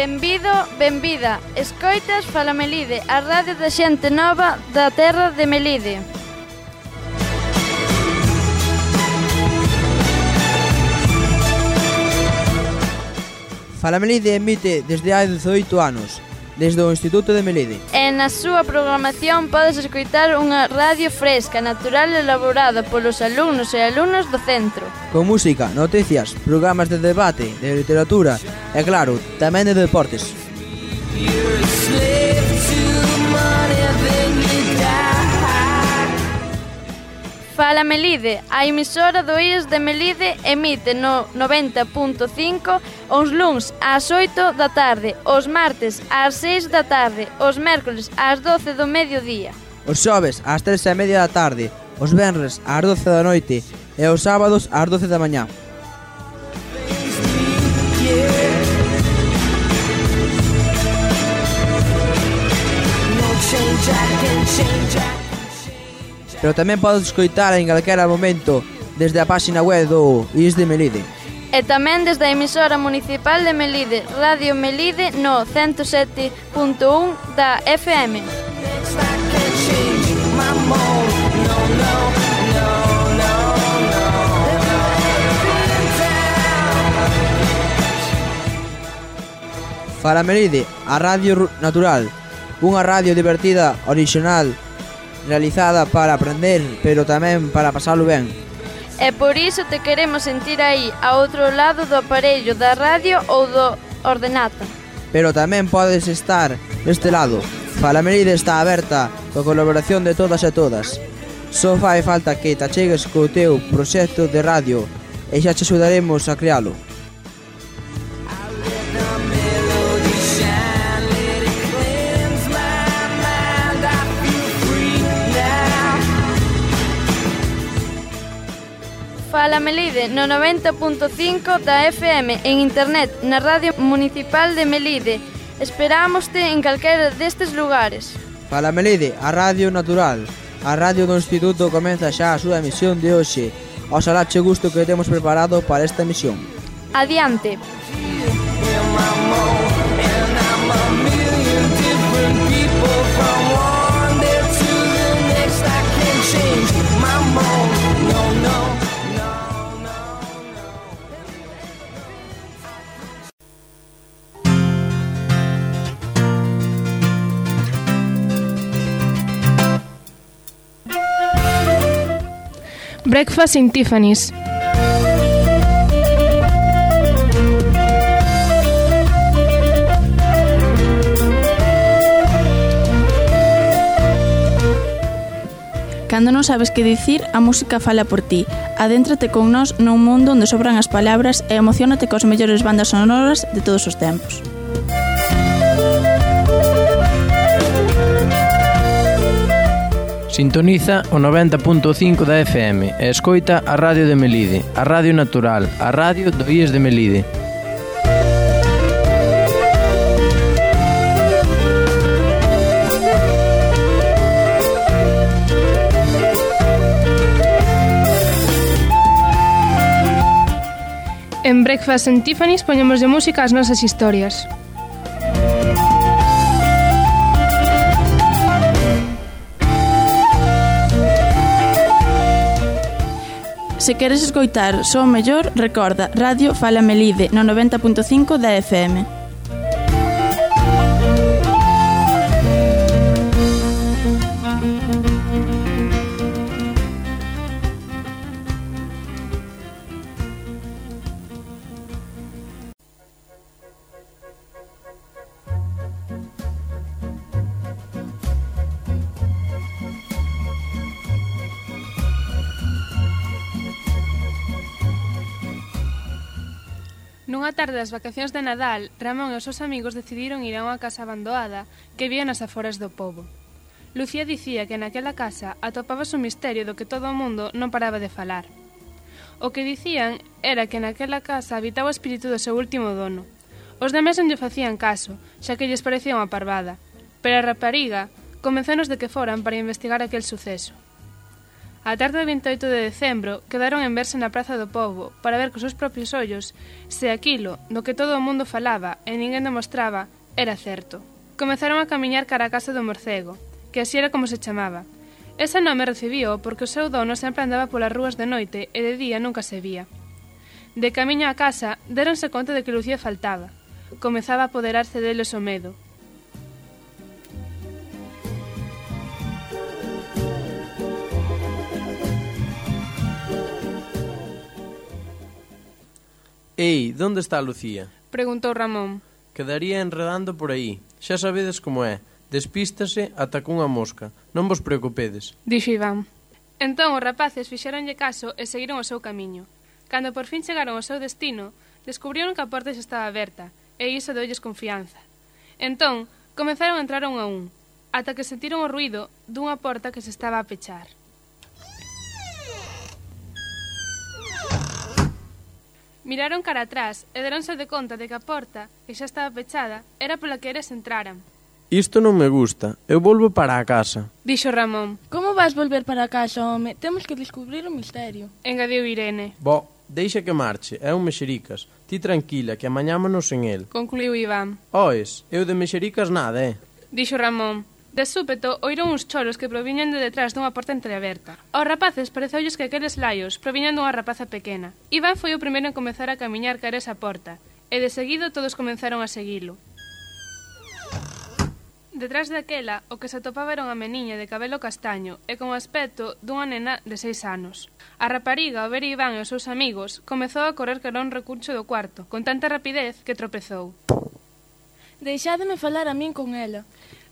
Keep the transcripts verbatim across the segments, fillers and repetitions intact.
Benvido, benvida. Escoitas Fala Melide, a radio da xente nova da terra de Melide. Fala Melide emite desde hai dezoito anos, desde o Instituto de Melide. E na súa programación podes escoitar unha radio fresca, natural e elaborada polos alumnos e alumnas do centro. Con música, noticias, programas de debate, de literatura e, claro, tamén de deportes. Fala Melide, a emisora do I E S de Melide emite no noventa punto cinco os luns ás oito da tarde, os martes ás seis da tarde, os mércoles ás doce do mediodía. Os xoves ás tres e media da tarde, os venres ás doce da noite e os sábados ás doce da mañá. Pero tamén podes escoitar en calquera momento desde a páxina web do I E S de Melide. E tamén desde a emisora municipal de Melide, Radio Melide no ciento sete punto un da F M. Fala Melide, a radio natural, unha radio divertida, orixinal, realizada para aprender, pero tamén para pasalo ben. E por iso te queremos sentir aí, a outro lado do aparello da radio ou do ordenata. Pero tamén podes estar deste lado. Fala Melide está aberta coa colaboración de todas e todas. Só fai falta que te achegues co teu proxecto de radio e xa te axudaremos a crealo. Fala Melide no noventa punto cinco da F M en internet na Radio Municipal de Melide. Esperámoste en calquera destes lugares. Fala Melide, a radio natural. A radio do Instituto comeza xa a súa emisión de hoxe. Oxalá che gusto que temos preparado para esta emisión. Adiante. Breakfast in Tiffany's. Cando non sabes que dicir, a música fala por ti. Adéntrate con nós nun mundo onde sobran as palabras e emociónate cos mellores bandas sonoras de todos os tempos. Sintoniza o noventa punto cinco da F M e escoita a Radio de Melide, a Radio Natural, a radio do I E S de Melide. En Breakfast in Tiffany's poñemos de música as nosas historias. Se queres escoitar só o mellor, recorda Radio Fala Melide no noventa punto cinco da F M. Nunha tarde das vacacións de Nadal, Ramón e os seus amigos decidiron ir a unha casa abandoada que vía nas aforas do pobo. Lucía dicía que naquela casa atopabas un misterio do que todo o mundo non paraba de falar. O que dicían era que naquela casa habitaba o espírito do seu último dono. Os demais non lle facían caso, xa que lles parecía unha parvada, pero a rapariga convencenos de que foran para investigar aquel suceso. A tarde do vinte e oito de decembro quedaron en verse na Praza do Pobo para ver cos seus propios ollos se aquilo do que todo o mundo falaba e ninguén demostraba era certo. Comezaron a camiñar cara a casa do morcego, que así era como se chamaba. Ese nome recibío porque o seu dono sempre andaba polas rúas de noite e de día nunca se vía. De camiño á casa, deronse conta de que Lucía faltaba. Comezaba a apoderarse deles o medo. Ei, onde está Lucía? Preguntou Ramón. Quedaría enredando por aí. Xa sabedes como é. Despístase ata cunha mosca. Non vos preocupedes. Dixo Iván. Entón os rapaces fixeronlle caso e seguiron o seu camiño. Cando por fin chegaron ao seu destino, descubrieron que a porta xa estaba aberta, e iso deulles confianza. Entón, comezaron a entrar un a un, ata que sentiron o ruído dunha porta que se estaba a pechar. Miraron cara atrás e deronse de conta de que a porta, que xa estaba pechada, era pola que eles entraran. Isto non me gusta. Eu volvo para a casa. Dixo Ramón. Como vas volver para a casa, home? Temos que descubrir o misterio. Engadiu Irene. Bo, deixa que marche. É un mexericas. Ti tranquila, que amañámonos en el. Concluiu Iván. Oes, eu de mexericas nada, eh? Dixo Ramón. De súpeto, oíron uns choros que proviñan de detrás dunha porta entreaberta. Aos rapaces pareceulles que aqueles laios proviñan dunha rapaza pequena. Iván foi o primeiro en comezar a camiñar cara esa porta, e de seguido todos comenzaron a seguilo. Detrás daquela, o que se atopaba era unha meniña de cabelo castaño e con aspecto dunha nena de seis anos. A rapariga, ao ver Iván e os seus amigos, comezou a correr cara a un recuncho do cuarto, con tanta rapidez que tropezou. Deixádeme falar a min con ela.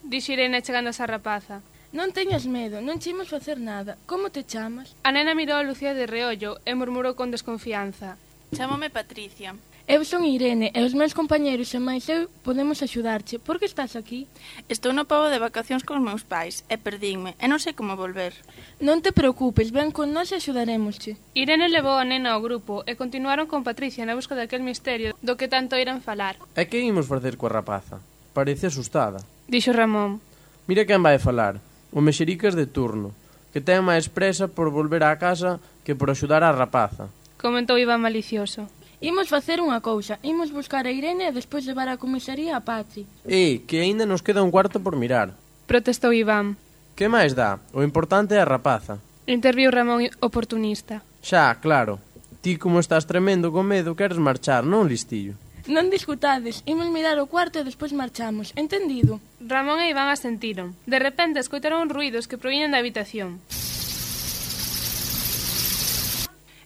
Dixo Irene chegando a esa rapaza. Non teñas medo, non che imos facer nada. Como te chamas? A nena mirou a Lucía de reollo e murmurou con desconfianza. Chámome Patricia. Eu son Irene e os meus compañeros e máis eu podemos axudarche. Por que estás aquí? Estou no Pobo de vacacións cos meus pais e perdínme e non sei como volver. Non te preocupes, ven con nós e axudarémosche. Irene levou a nena ao grupo e continuaron con Patricia na busca daquel misterio do que tanto iran falar. E que imos facer coa rapaza? Parece asustada. Dixo Ramón. Mira quen vai falar. O mexericas de turno, que ten máis presa por volver á casa que por axudar á rapaza. Comentou Iván malicioso. Imos facer unha cousa, imos buscar a Irene e despois levar á comisaría a Patri. E, que aínda nos queda un cuarto por mirar. Protestou Iván. Que máis dá? O importante é a rapaza. Interviu Ramón oportunista. Xa, claro. Ti como estás tremendo con medo queres marchar, non, listillo? Non discutades, imos mirar o cuarto e despois marchamos, entendido? Ramón e Iván asentiron. De repente escoitaron ruídos que proviñan da habitación.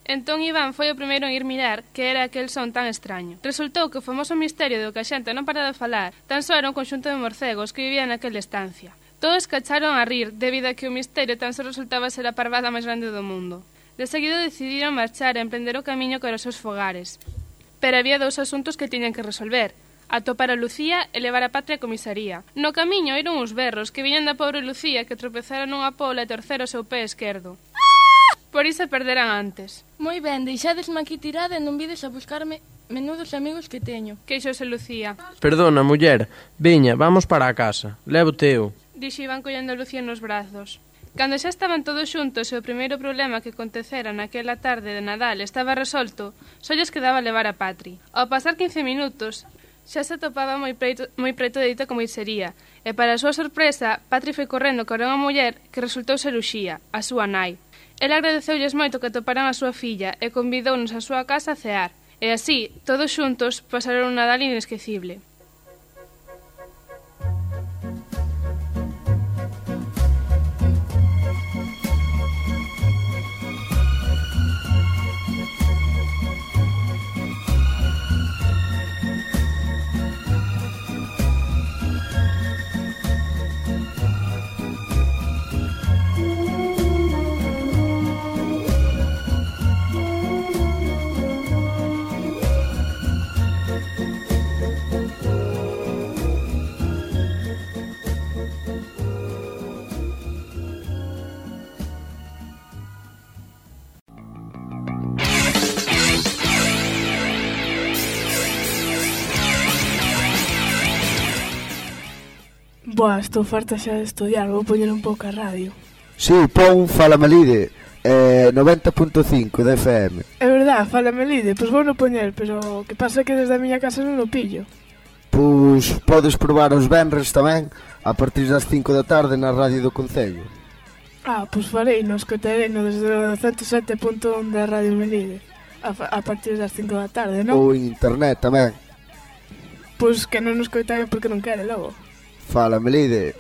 Entón Iván foi o primeiro en ir mirar que era aquel son tan extraño. Resultou que o famoso misterio do que a xente non para de falar tan só era un conxunto de morcegos que vivían naquela estancia. Todos cacharon a rir debido a que o misterio tan só resultaba ser a parvada máis grande do mundo. De seguido decidiron marchar e emprender o camiño cara aos seus fogares. Pero había dous asuntos que tiñan que resolver: atopar a Lucía e levar a Patria á comisaría. No camiño oíron uns berros que viñan da pobre Lucía que tropezara nunha pola e torcera o seu pé esquerdo. Por iso perderan antes. Moi ben, deixadesme aquí tirada e non vides a buscarme menudos amigos que teño. Queixouse Lucía. Perdona, muller, veña, vamos para a casa. Levo teu. Dixo Iván collendo a Lucía nos brazos. Cando xa estaban todos xuntos e o primeiro problema que acontecera naquela tarde de Nadal estaba resolto, só lles quedaba levar a Patri. Ao pasar quince minutos, xa se atopaba moi preto, moi preto de dita comisaría, e para a súa sorpresa, Patri foi correndo cara a unha muller que resultou ser Uxía, a súa nai. Ela agradeceulles moito que atoparan a súa filla e convidounos á súa casa a cear. E así, todos xuntos, pasaron un Nadal inesquecible. Boa, estou farta xa de estudiar, vou poñer un pouco a radio. Si, sí, pon Fala Melide, eh, noventa punto cinco de F M. É verdad, Fala Melide, pois vou no poñer, pero o que pasa é que desde a miña casa non o pillo. Pois podes probar os venres tamén, a partir das cinco da tarde na radio do Concello. Ah, pois farei, no escotarei no desde o ciento sete punto un da Radio Melide, a, a partir das cinco da tarde, non? Ou en internet tamén. Pois que non nos coitare porque non quere logo. Fala Melide.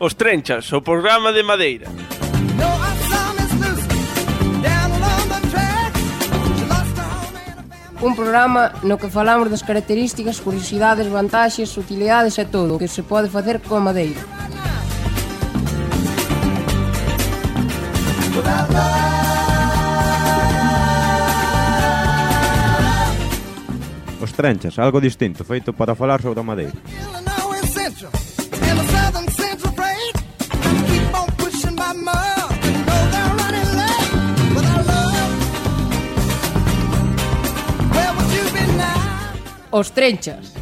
Os Trenchas, o programa de Madeira. Un programa no que falamos das características, curiosidades, vantaxes, utilidades e todo o que se pode facer con madeira. Os Trenchas, algo distinto, feito para falar sobre a madeira. Os Trenchas.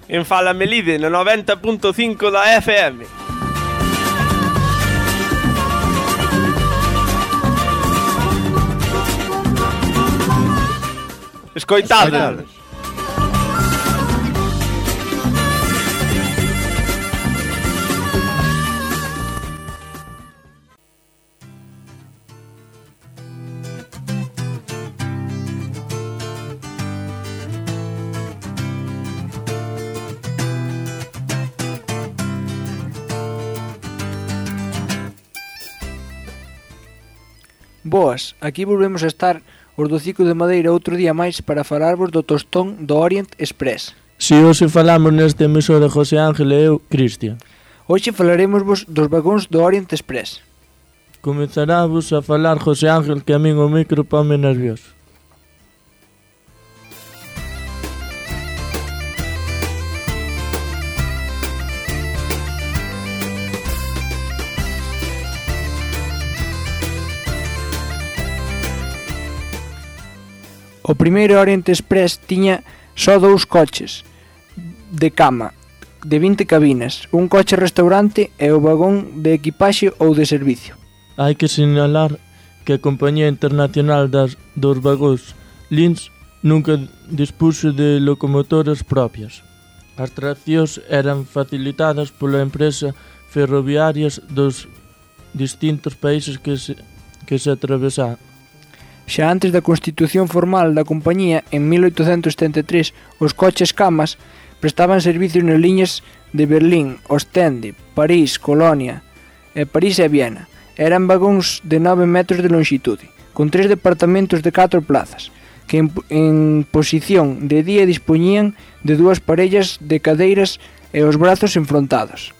En Fala Melide, no noventa punto cinco da F M. Escoitades. Boas, aquí volvemos a estar os do Ciclo de Madeira outro día máis para falarvos do tostón do Orient Express. Si hoxe falamos neste emisora José Ángel e eu, Cristian. Hoxe falaremosvos dos vagóns do Orient Express. Comezarávos a falar José Ángel, que a min o micro ponme nervioso. O primeiro Orient Express tiña só dous coches de cama de vinte cabinas, un coche restaurante e o vagón de equipaxe ou de servicio. Hai que sinalar que a Compañía Internacional das, dos Vagóns Linz nunca dispuxo de locomotoras propias. As traccións eran facilitadas pola empresa ferroviarias dos distintos países que se, que se atravesaban. Xa antes da constitución formal da compañía, en mil oitocentos setenta e tres, os coches camas prestaban servicios nas liñas de Berlín, Ostende, París, Colonia, e París e Viena. Eran vagóns de nove metros de longitude, con tres departamentos de catro plazas, que en, en posición de día dispoñían de dúas parellas de cadeiras e os brazos enfrontados.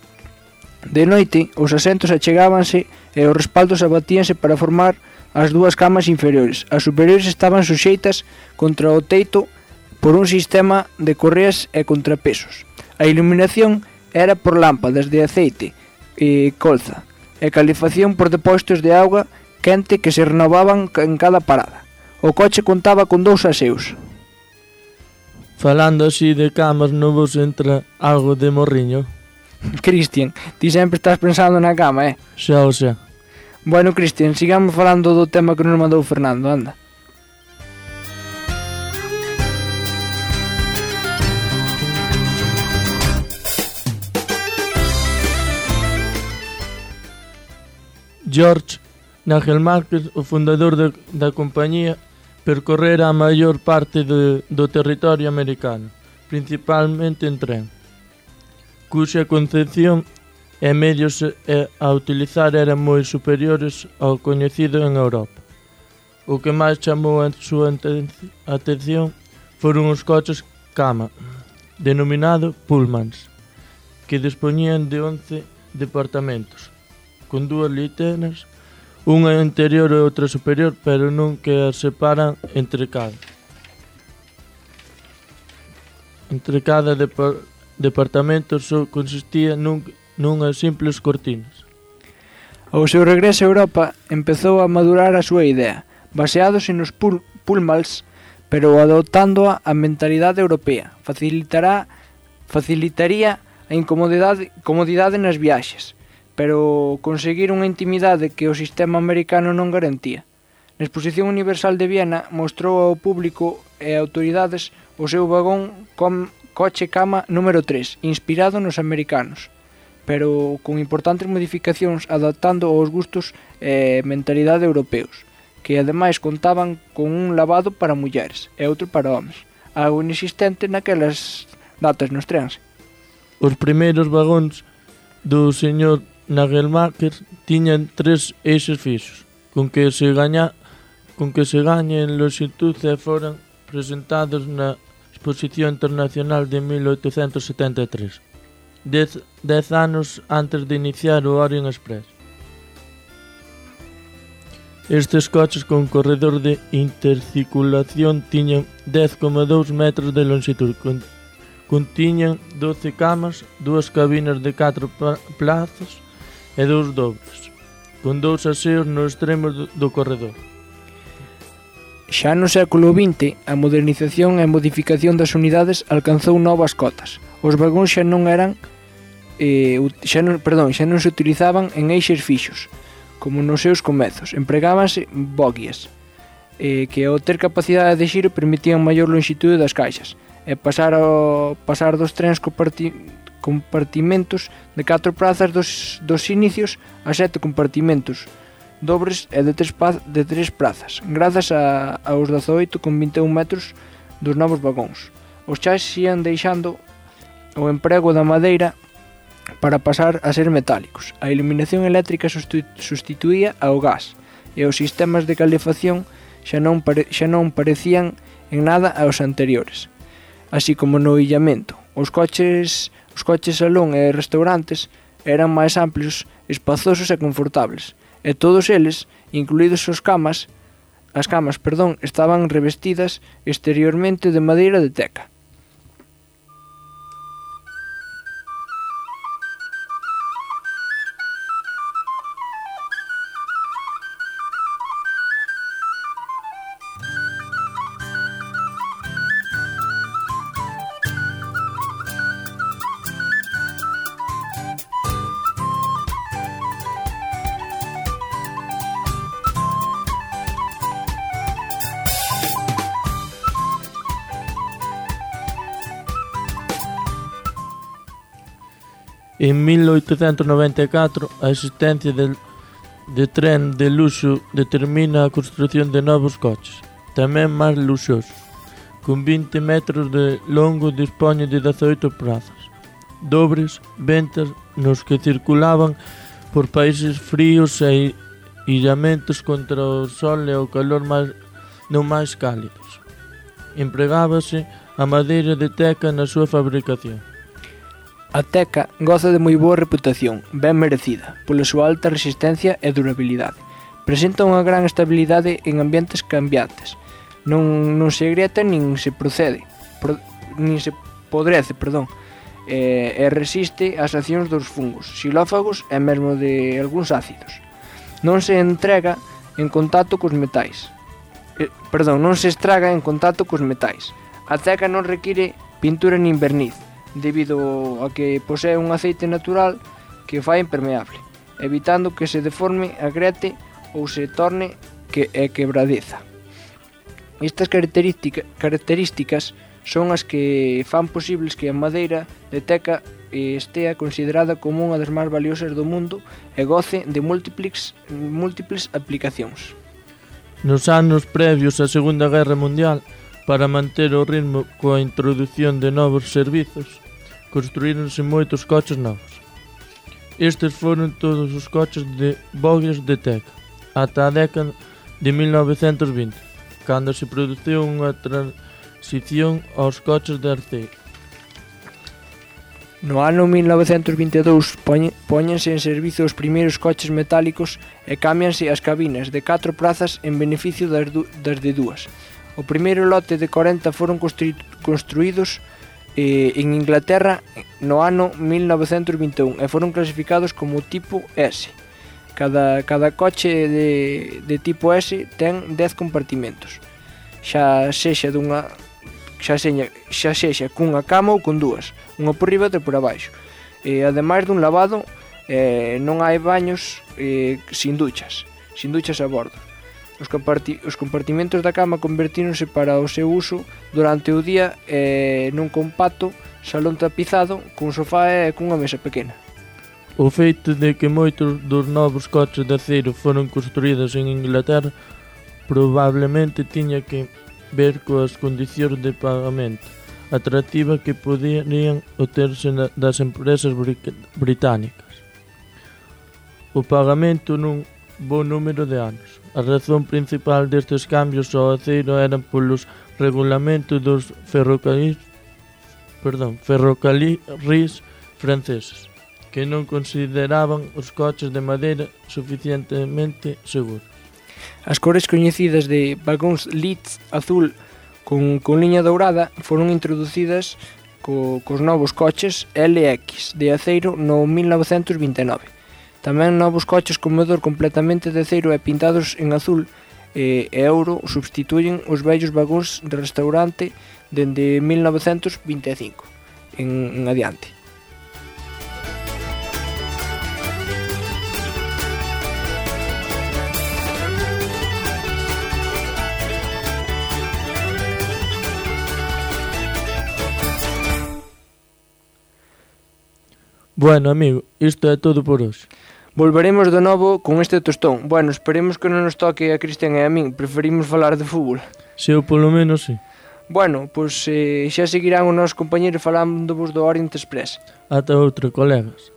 De noite, os asentos achegábanse e os respaldos abatíanse para formar as dúas camas inferiores. As superiores estaban suxeitas contra o teito por un sistema de correas e contrapesos. A iluminación era por lámpadas de aceite e colza, e calefacción por depósitos de auga quente que se renovaban en cada parada. O coche contaba con dous aseos. Falando así de camas, non vos entra algo de morriño? Cristian, ti sempre estás pensando na cama, eh? Xa o xa. Bueno, Cristian, sigamos falando do tema que nos mandou Fernando, anda. George Nagel Márquez, o fundador de, da compañía, percorrera a maior parte de, do territorio americano, principalmente en tren, cuxa concepción e medios a utilizar eran moi superiores ao coñecido en Europa. O que máis chamou a súa atención foron os coches cama, denominado Pullmans, que dispoñían de once departamentos, con dúas literas, unha interior e outra superior, pero non que as separan entre cada. Entre cada depar departamento só consistía nun, nunhas simples cortinas. Ao seu regreso a Europa, empezou a madurar a súa idea, baseándose nos pul Pullmans, pero adoptándoa a mentalidade europea. Facilitará, facilitaría a incomodidade comodidade nas viaxes, pero conseguir unha intimidade que o sistema americano non garantía. Na Exposición Universal de Viena mostrou ao público e autoridades o seu vagón com coche cama número tres, inspirado nos americanos, pero con importantes modificacións adaptando aos gustos e mentalidade europeos, que ademais contaban con un lavado para mulleres e outro para homes, algo inexistente naquelas datas nos trens. Os primeiros vagóns do señor Nagelmacher tiñan tres eixes fixos, con que se gaña, con que se gaña en longitude e foran presentados na Exposición Internacional de mil oitocentos setenta e tres, dez, dez anos antes de iniciar o Orient Express. Estes coches con corredor de intercirculación tiñan dez coma dous metros de longitude, con, contiñan doce camas, dúas cabinas de catro plazas e dous dobles, con dous aseos no extremo do, do corredor. Xa no século vinte, a modernización e modificación das unidades alcanzou novas cotas. Os vagóns xa non eran eh, xa non, perdón, xa non se utilizaban en eixes fixos, como nos seus comezos. Empregábanse bogias, eh, que ao ter capacidade de xiro permitían maior longitude das caixas, e pasar, ao, pasar dos trens comparti, compartimentos de catro prazas dos, dos inicios a sete compartimentos dobres e de tres, de tres prazas, grazas a, aos dezaoito coma vinte e un metros dos novos vagóns. Os chás ian deixando o emprego da madeira para pasar a ser metálicos. A iluminación eléctrica sustituía ao gas e os sistemas de calefacción xa non, pare, xa non parecían en nada aos anteriores. Así como no illamento, os coches, os coches salón e restaurantes eran máis amplios, espazosos e confortables, e todos eles, incluídos os camas, as camas, perdón, estaban revestidas exteriormente de madeira de teca. En mil oitocentos noventa e catro, a existencia de, de tren de luxo determina a construción de novos coches, tamén máis luxosos, con vinte metros de longo dispoñen de dezaoito prazas, dobres, ventas nos que circulaban por países fríos e illamentos contra o sol e o calor máis, non máis cálidos. Empregábase a madeira de teca na súa fabricación. A teca goza de moi boa reputación, ben merecida, pola súa alta resistencia e durabilidade. Presenta unha gran estabilidade en ambientes cambiantes. Non, non se agrieta nin se procede, pro, nin se podrece, perdón, e, e resiste ás accións dos fungos, xilófagos e mesmo de algúns ácidos. Non se entrega en contacto cos metais. Eh, perdón, non se estraga en contacto cos metais. A teca non require pintura nin verniz, debido a que posee un aceite natural que o fai impermeable, evitando que se deforme, agrete ou se torne que é quebradiza. Estas característica, características son as que fan posibles que a madeira de teca estea considerada como unha das máis valiosas do mundo e goce de múltiples, múltiples aplicacións. Nos anos previos á Segunda Guerra Mundial, para manter o ritmo coa introdución de novos servizos, construíronse moitos coches novos. Estes foron todos os coches de bogias de teca. Ata a década de mil novecentos vinte, cando se produciu unha transición aos coches de aceiro. No ano mil novecentos vinte e dous póñense en servizo os primeiros coches metálicos e cámbianse as cabinas de catro prazas en beneficio das, das de dúas. O primeiro lote de corenta foron construídos eh, en Inglaterra no ano mil novecentos vinte e un e foron clasificados como tipo S. Cada, cada coche de, de tipo S ten dez compartimentos, xa sexa dunha xa sexa, xa sexa cunha cama ou con dúas, unha por riba e por abaixo. E, ademais dun lavado, eh, non hai baños eh, sin duchas, sin duchas a bordo. Os, comparti os compartimentos da cama convertíronse para o seu uso durante o día eh, nun compacto salón tapizado cun sofá e cunha mesa pequena. O feito de que moitos dos novos coches de aceiro foron construídos en Inglaterra probablemente tiña que ver coas condicións de pagamento atractiva que poderían obterse das empresas británicas. O pagamento nun bo número de anos. A razón principal destes cambios ao aceiro eran polos regulamentos dos ferrocarrís, perdón, ferrocarrís franceses, que non consideraban os coches de madeira suficientemente seguros. As cores coñecidas de vagóns Leeds azul con, con liña dourada foron introducidas co, cos novos coches L X de aceiro no mil novecentos vinte e nove. Tamén novos coches con motor completamente de aceiro e pintados en azul e euro substituyen os vellos vagóns de restaurante dende mil novecentos vinte e cinco en, en adiante. Bueno, amigo, isto é todo por hoxe. Volveremos de novo con este tostón. Bueno, esperemos que non nos toque a Cristian e a min. Preferimos falar de fútbol. Se, ou polo menos, sí. Bueno, pois eh, xa seguirán os nosos compañeros falándovos do Orient Express. Ata outro, colegas.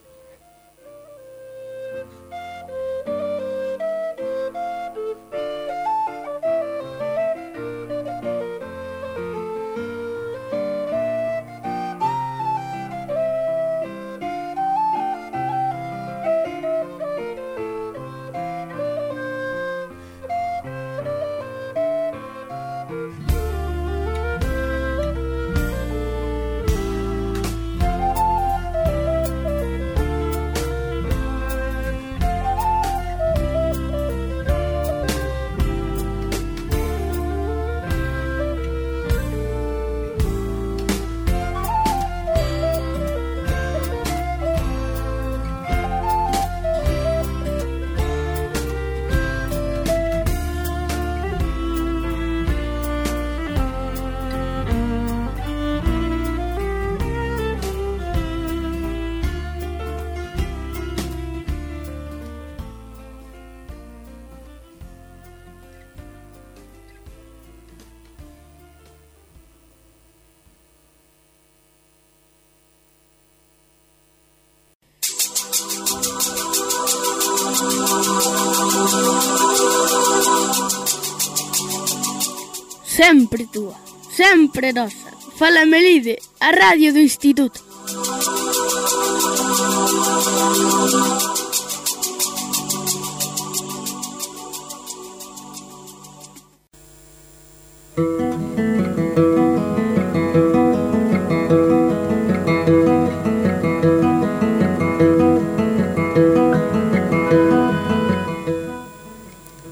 Sempre túa, sempre nosa. Fala Melide, a radio do Instituto.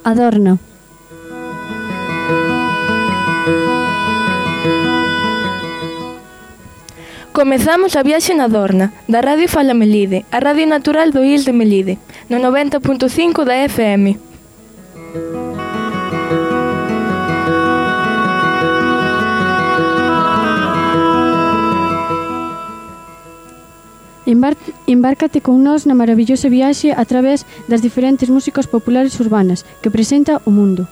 Adorno. Comezamos a viaxe na Adorna, da Radio Fala Melide, a radio natural do I S de Melide, no noventa punto cinco da F M. Embárcate con nós na maravillosa viaxe a través das diferentes músicas populares urbanas que presenta o mundo.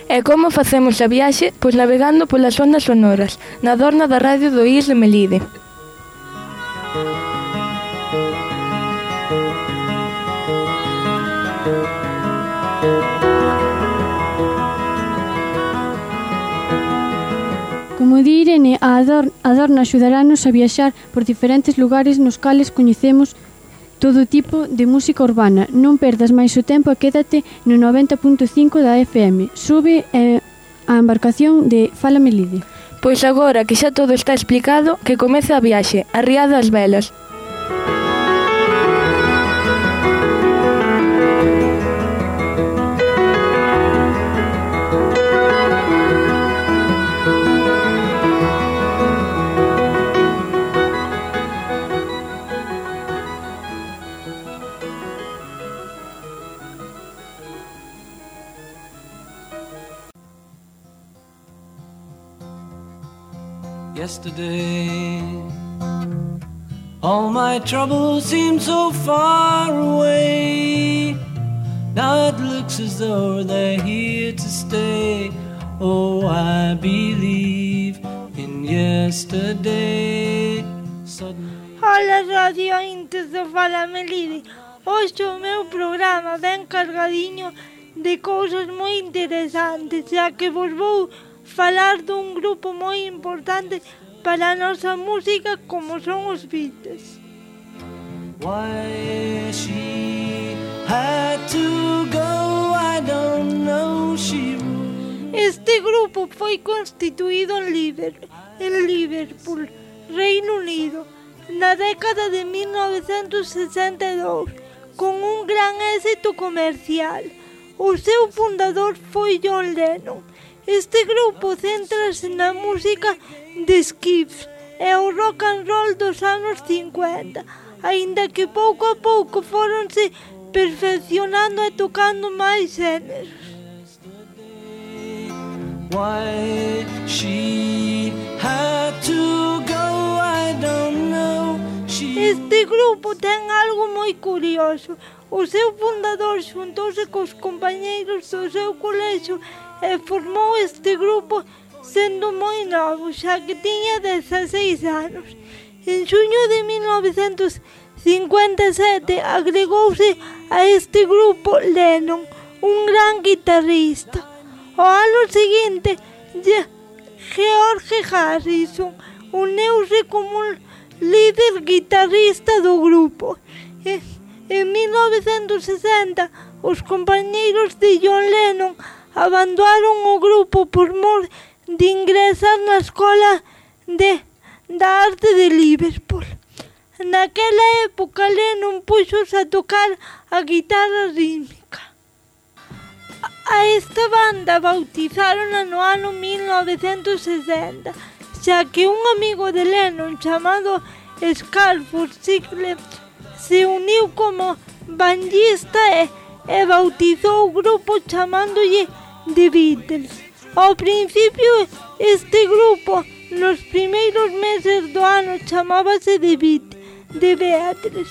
E E como facemos a viaxe? Pois navegando polas ondas sonoras, na Adorna da Radio do I S de Melide. Como di Irene, a Adorna axudarános a viaxar por diferentes lugares nos cales coñecemos todo tipo de música urbana. Non perdas máis o tempo e quédate no noventa punto cinco da F M. Sube eh, a embarcación de Fala Melide. Pois agora que xa todo está explicado, que comece a viaxe, arriado ás velas. Yesterday, all my troubles seemed so far away. Now it looks as though they're here to stay. Oh, I believe in yesterday. Suddenly... Hola, radio intes do Fala Melide. Hoxe o meu programa ben cargadiño de cousas moi interesantes, xa que vos vou falar dun grupo moi importante para a nosa música como son os Beatles. Why she had to go, I don't know, she would. Este grupo foi constituído en Liverpool, en Liverpool, Reino Unido, na década de mil novecentos sesenta e dous, con un gran éxito comercial. O seu fundador foi John Lennon. Este grupo céntrase na música de Skiffs e o rock and roll dos anos cincuenta, aínda que pouco a pouco foronse perfeccionando e tocando máis xéneros. Why she had to go, I don't know. She... Este grupo ten algo moi curioso. O seu fundador xuntouse cos compañeiros do seu colexio e formou este grupo sendo moi novo, xa que tiña dezaseis anos. En xuño de mil novecentos cincuenta e sete agregouse a este grupo Lennon, un gran guitarrista. O ano seguinte, George Harrison uneuse como un líder guitarrista do grupo. En mil novecentos sesenta, os compañeiros de John Lennon abandonaron o grupo por mor de ingresar na Escola de, da Arte de Liverpool. Naquela época, Lennon puxos a tocar a guitarra rítmica. A esta banda bautizárona no ano mil novecentos sesenta, xa que un amigo de Lennon chamado Scarford Sickle se uniu como bandista e, e bautizou o grupo chamándolle The Beatles. Ao principio, este grupo, nos primeiros meses do ano, chamábase The Beatles, The Beatles.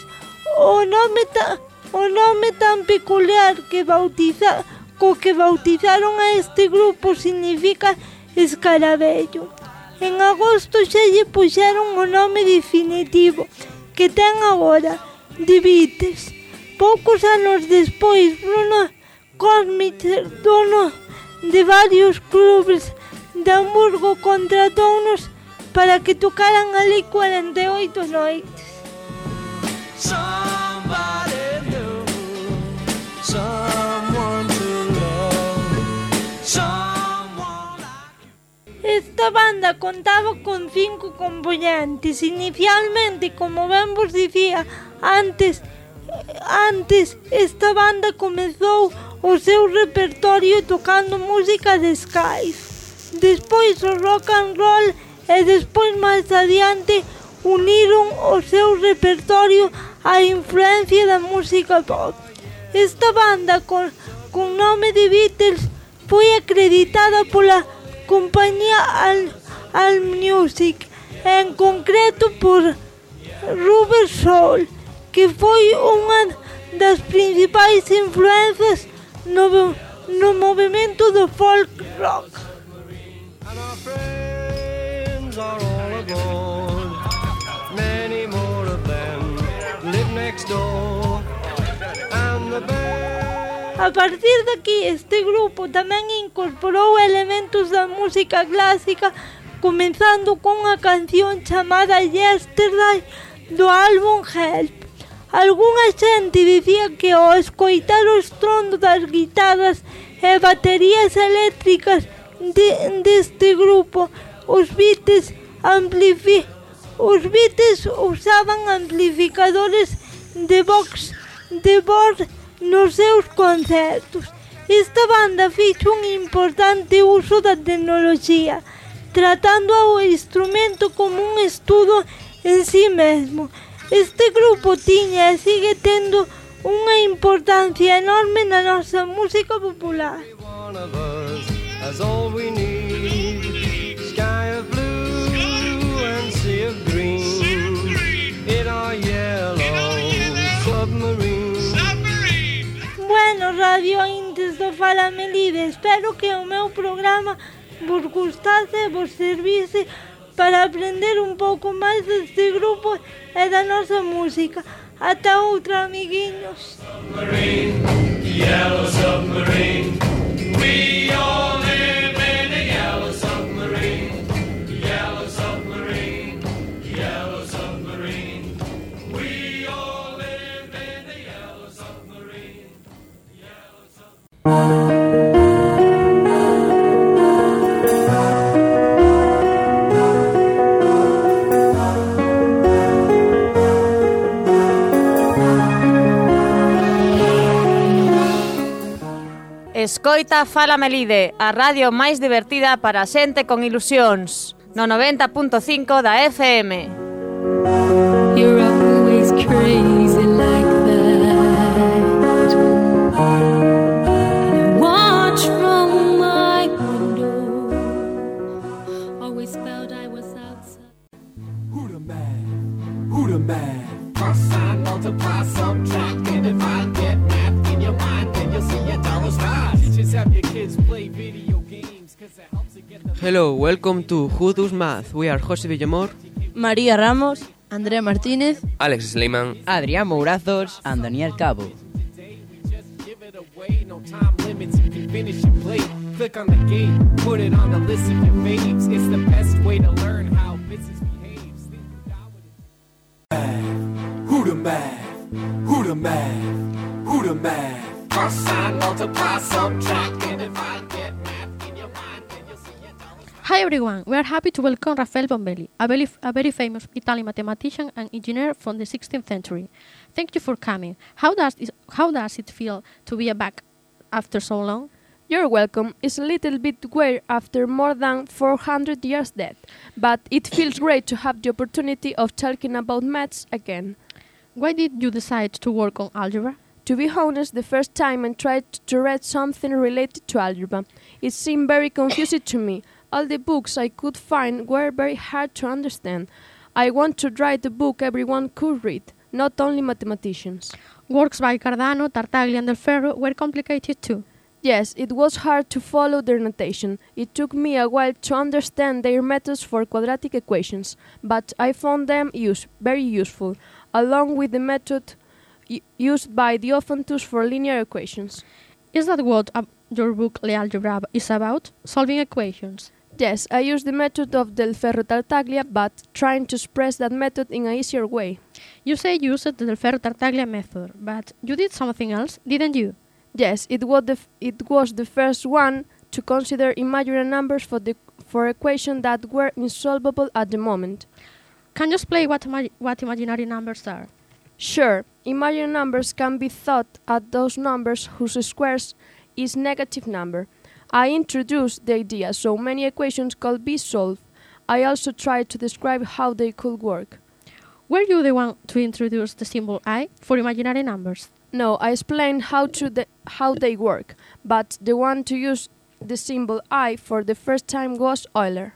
O nome, ta, o nome tan peculiar que bautiza, co que bautizaron a este grupo significa escaravello. En agosto xa lle puxeron o nome definitivo que ten agora, The Beatles. Poucos anos despois, Bruno Cosmic, dono de varios clubes de Hamburgo, contratounos para que tocaran ali cuarenta e oito noites. Somebody new, someone to love, someone like... Esta banda contaba con cinco componentes. Inicialmente, como ben vos dicía antes, antes esta banda comezou o seu repertorio tocando música de skies. Despois o rock and roll e despois máis adiante uniron o seu repertorio á influencia da música pop. Esta banda con, con nome de Beatles foi acreditada pola compañía Al, Al Music, en concreto por Rubber Soul, que foi unha das principais influencias no, no movimento do folk rock. And our friends are all aboard. Many more of them live next door. And the band... A partir de aquí, este grupo tamén incorporou elementos da música clásica, comenzando con unha canción chamada Yesterday do álbum Help. Algúnha xente dicía que ao escoitar o estrondo das guitarras e baterías eléctricas de, deste grupo, os Beatles amplifi, os Beatles usaban amplificadores de box de voz nos seus concertos. Esta banda fixo un importante uso da tecnoloxía, tratando ao instrumento como un estudo en sí mesmo. Este grupo tiña e sigue tendo unha importancia enorme na nosa música popular. That's all we need. Sky of blue and sea of green in our yellow submarine. Bueno, radio ointes do Fala Melide, espero que o meu programa vos gustase e vos servise para aprender un pouco máis deste grupo e da nosa música. Ata outra, amiguiños. Submarine, yellow submarine. We all live in a yellow submarine. Yellow submarine, yellow submarine. We all live in a yellow submarine. Yellow submarine. Escoita Fala Melide, a radio máis divertida para a xente con ilusións, no noventa punto cinco da F M. You're always crazy like that. And I watch from my window. Always felt I was outside. Who the man? Who the man? Cross sign, multiply, subtract, and if I get math in your mind, then you'll see a dollar sign. Hello, welcome to Who Does Math. We are José Villamor, María Ramos, Andrea Martínez, Alex Sleiman, Adrián Mourazos and Daniel Cabo. Click on the gate, put it on the list of your faves. It's the best way to learn how business behaves. Who the math? Who the math? Who the math? Cross sign, multiply, subtract, and if I get math in your mind, then you'll see it. Hi everyone, we are happy to welcome Rafael Bombelli, a very, a very famous Italian mathematician and engineer from the sixteenth century. Thank you for coming. How does it, how does it feel to be back after so long? You're welcome. It's a little bit weird after more than four hundred years dead, but it feels great to have the opportunity of talking about maths again. Why did you decide to work on algebra? To be honest, the first time I tried to read something related to algebra, it seemed very confusing to me. All the books I could find were very hard to understand. I want to write a book everyone could read, not only mathematicians. Works by Cardano, Tartaglia and Del Ferro were complicated too. Yes, it was hard to follow their notation. It took me a while to understand their methods for quadratic equations, but I found them use, very useful, along with the method used by Diophantus for linear equations. Is that what uh, your book Le Algebra is about? Solving equations? Yes, I use the method of Del Ferro Tartaglia, but trying to express that method in an easier way. You say you used the Del Ferro Tartaglia method, but you did something else, didn't you? Yes, it was the, f it was the first one to consider imaginary numbers for, the, for equations that were insolvable at the moment. Can you explain what, ima what imaginary numbers are? Sure. Imaginary numbers can be thought as those numbers whose squares is negative number. I introduced the idea so many equations could be solved. I also tried to describe how they could work. Were you the one to introduce the symbol I for imaginary numbers? No, I explained how to the, how they work, but the one to use the symbol I for the first time was Euler.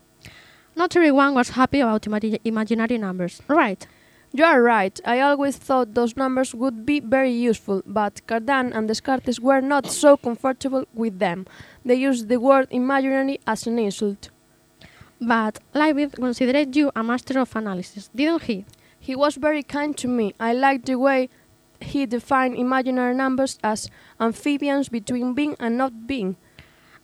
Not everyone was happy about imagi imaginary numbers, right? You are right. I always thought those numbers would be very useful, but Cardan and Descartes were not so comfortable with them. They used the word imaginary as an insult. But Leibniz considered you a master of analysis, didn't he? He was very kind to me. I liked the way he defined imaginary numbers as amphibians between being and not being.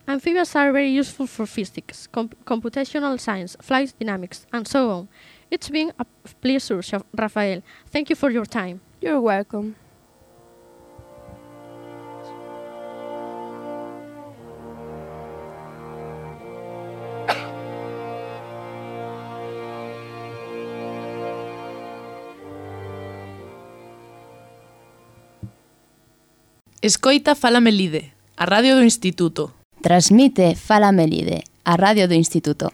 Amphibians are very useful for physics, comp- computational science, flight dynamics, and so on. It's been a pleasure, Rafael. Thank you for your time. You're welcome. Escoita Fala Melide, a radio do Instituto. Transmite Fala Melide, a radio do Instituto.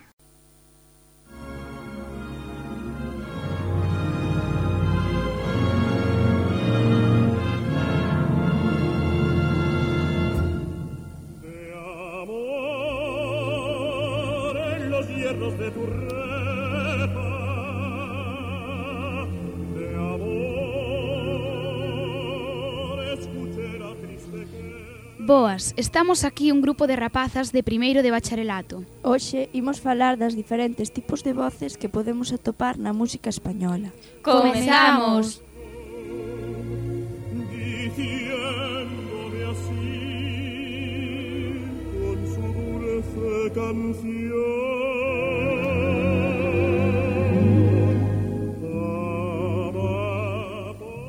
Boas, estamos aquí un grupo de rapazas de primeiro de bacharelato. Hoxe imos falar das diferentes tipos de voces que podemos atopar na música española. ¡Comezamos! Diciéndome así con su dulce canción.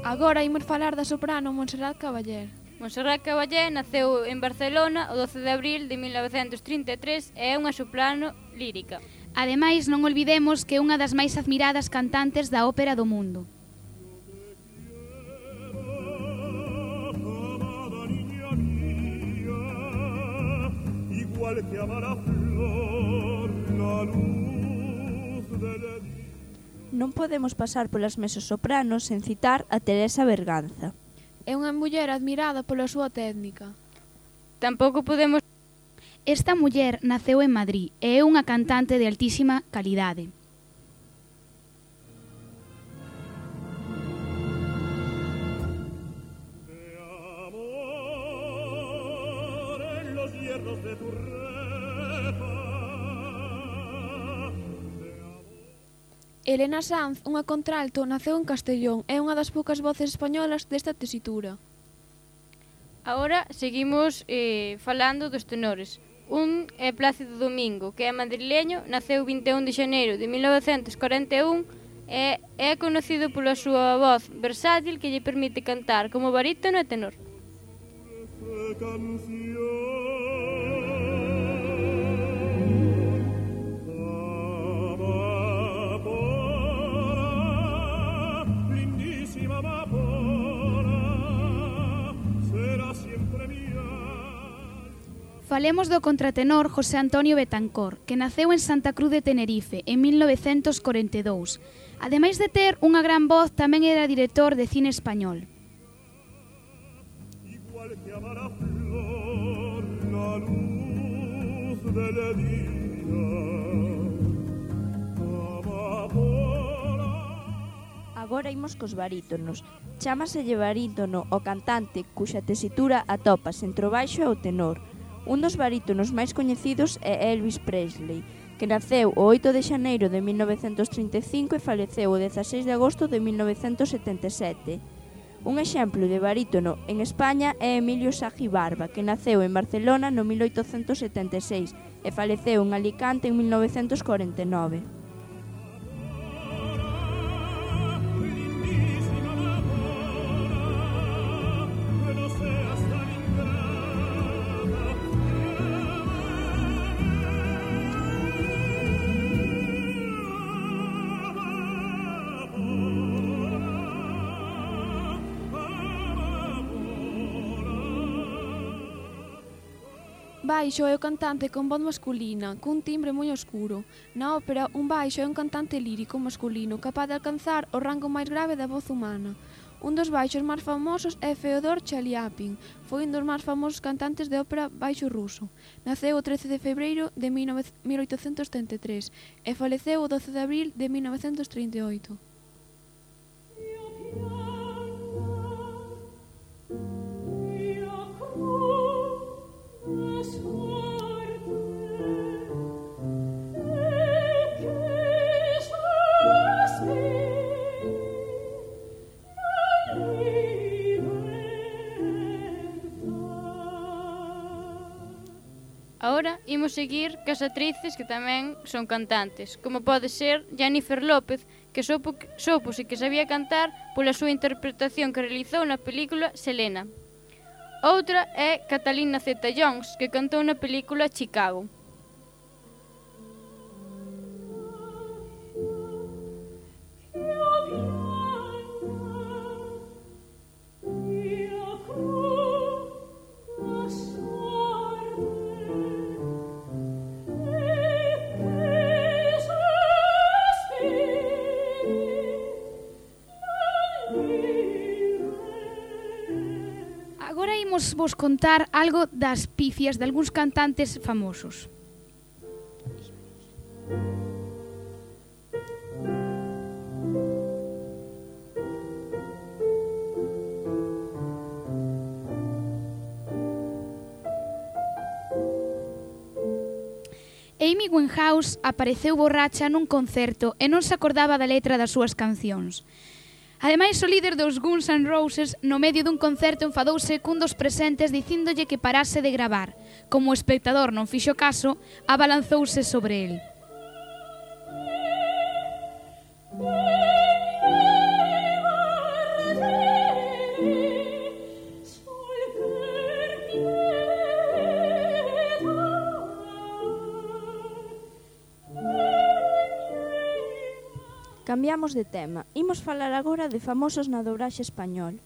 Agora imos falar da soprano Montserrat Caballé. Montserrat Caballé naceu en Barcelona o doce de abril de mil novecentos trinta e tres e é unha soprano lírica. Ademais, non olvidemos que é unha das máis admiradas cantantes da ópera do mundo. Igual que amar a flor la luz del día. Non podemos pasar polas mezzosopranos sen citar a Teresa Berganza. É unha muller admirada pola súa técnica. Tampouco podemos... Esta muller naceu en Madrid e é unha cantante de altísima calidade. Elena Sanz, unha contralto, naceu en Castellón. É unha das poucas voces españolas desta tesitura. Agora seguimos eh, falando dos tenores. Un é Plácido Domingo, que é madrileño, naceu vinte e un de xaneiro de mil novecentos corenta e un e é conocido pola súa voz versátil que lle permite cantar como barítono e tenor. Falemos do contratenor José Antonio Betancor, que naceu en Santa Cruz de Tenerife en mil novecentos corenta e dous. Ademais de ter unha gran voz, tamén era director de cine español. Igual que amar a flor la luz del día. Agora imos cos barítonos. Chámaselle barítono o cantante cuxa tesitura atopas entre o baixo e o tenor. Un dos barítonos máis coñecidos é Elvis Presley, que naceu o oito de xaneiro de mil novecentos trinta e cinco e faleceu o dezaseis de agosto de mil novecentos setenta e sete. Un exemplo de barítono en España é Emilio Sagi Barba, que naceu en Barcelona no mil oitocentos setenta e seis e faleceu en Alicante en mil novecentos corenta e nove. Baixo é o cantante con voz masculina, cun timbre moi oscuro. Na ópera, un baixo é un cantante lírico masculino capaz de alcanzar o rango máis grave da voz humana. Un dos baixos máis famosos é Feodor Chaliapin. Foi un dos máis famosos cantantes de ópera baixo ruso. Naceu o trece de febreiro de mil oitocentos setenta e tres e faleceu o doce de abril de mil novecentos trinta e oito. Ahora imos seguir cas actrices que tamén son cantantes, como pode ser Jennifer López, que sopo, sopose que sabía cantar pola súa interpretación que realizou na película Selena. Outra é Catalina Zeta-Jones, que cantou na película Chicago. Agora imos vos contar algo das pifias de algúns cantantes famosos. Amy Winehouse apareceu borracha nun concerto e non se acordaba da letra das súas cancións. Ademais, o líder dos Guns N' Roses, no medio dun concerto, enfadouse cun dos presentes dicíndolle que parase de gravar. Como o espectador non fixo caso, abalanzouse sobre el. Cambiamos de tema. Imos falar agora de famosos na dobraxe español.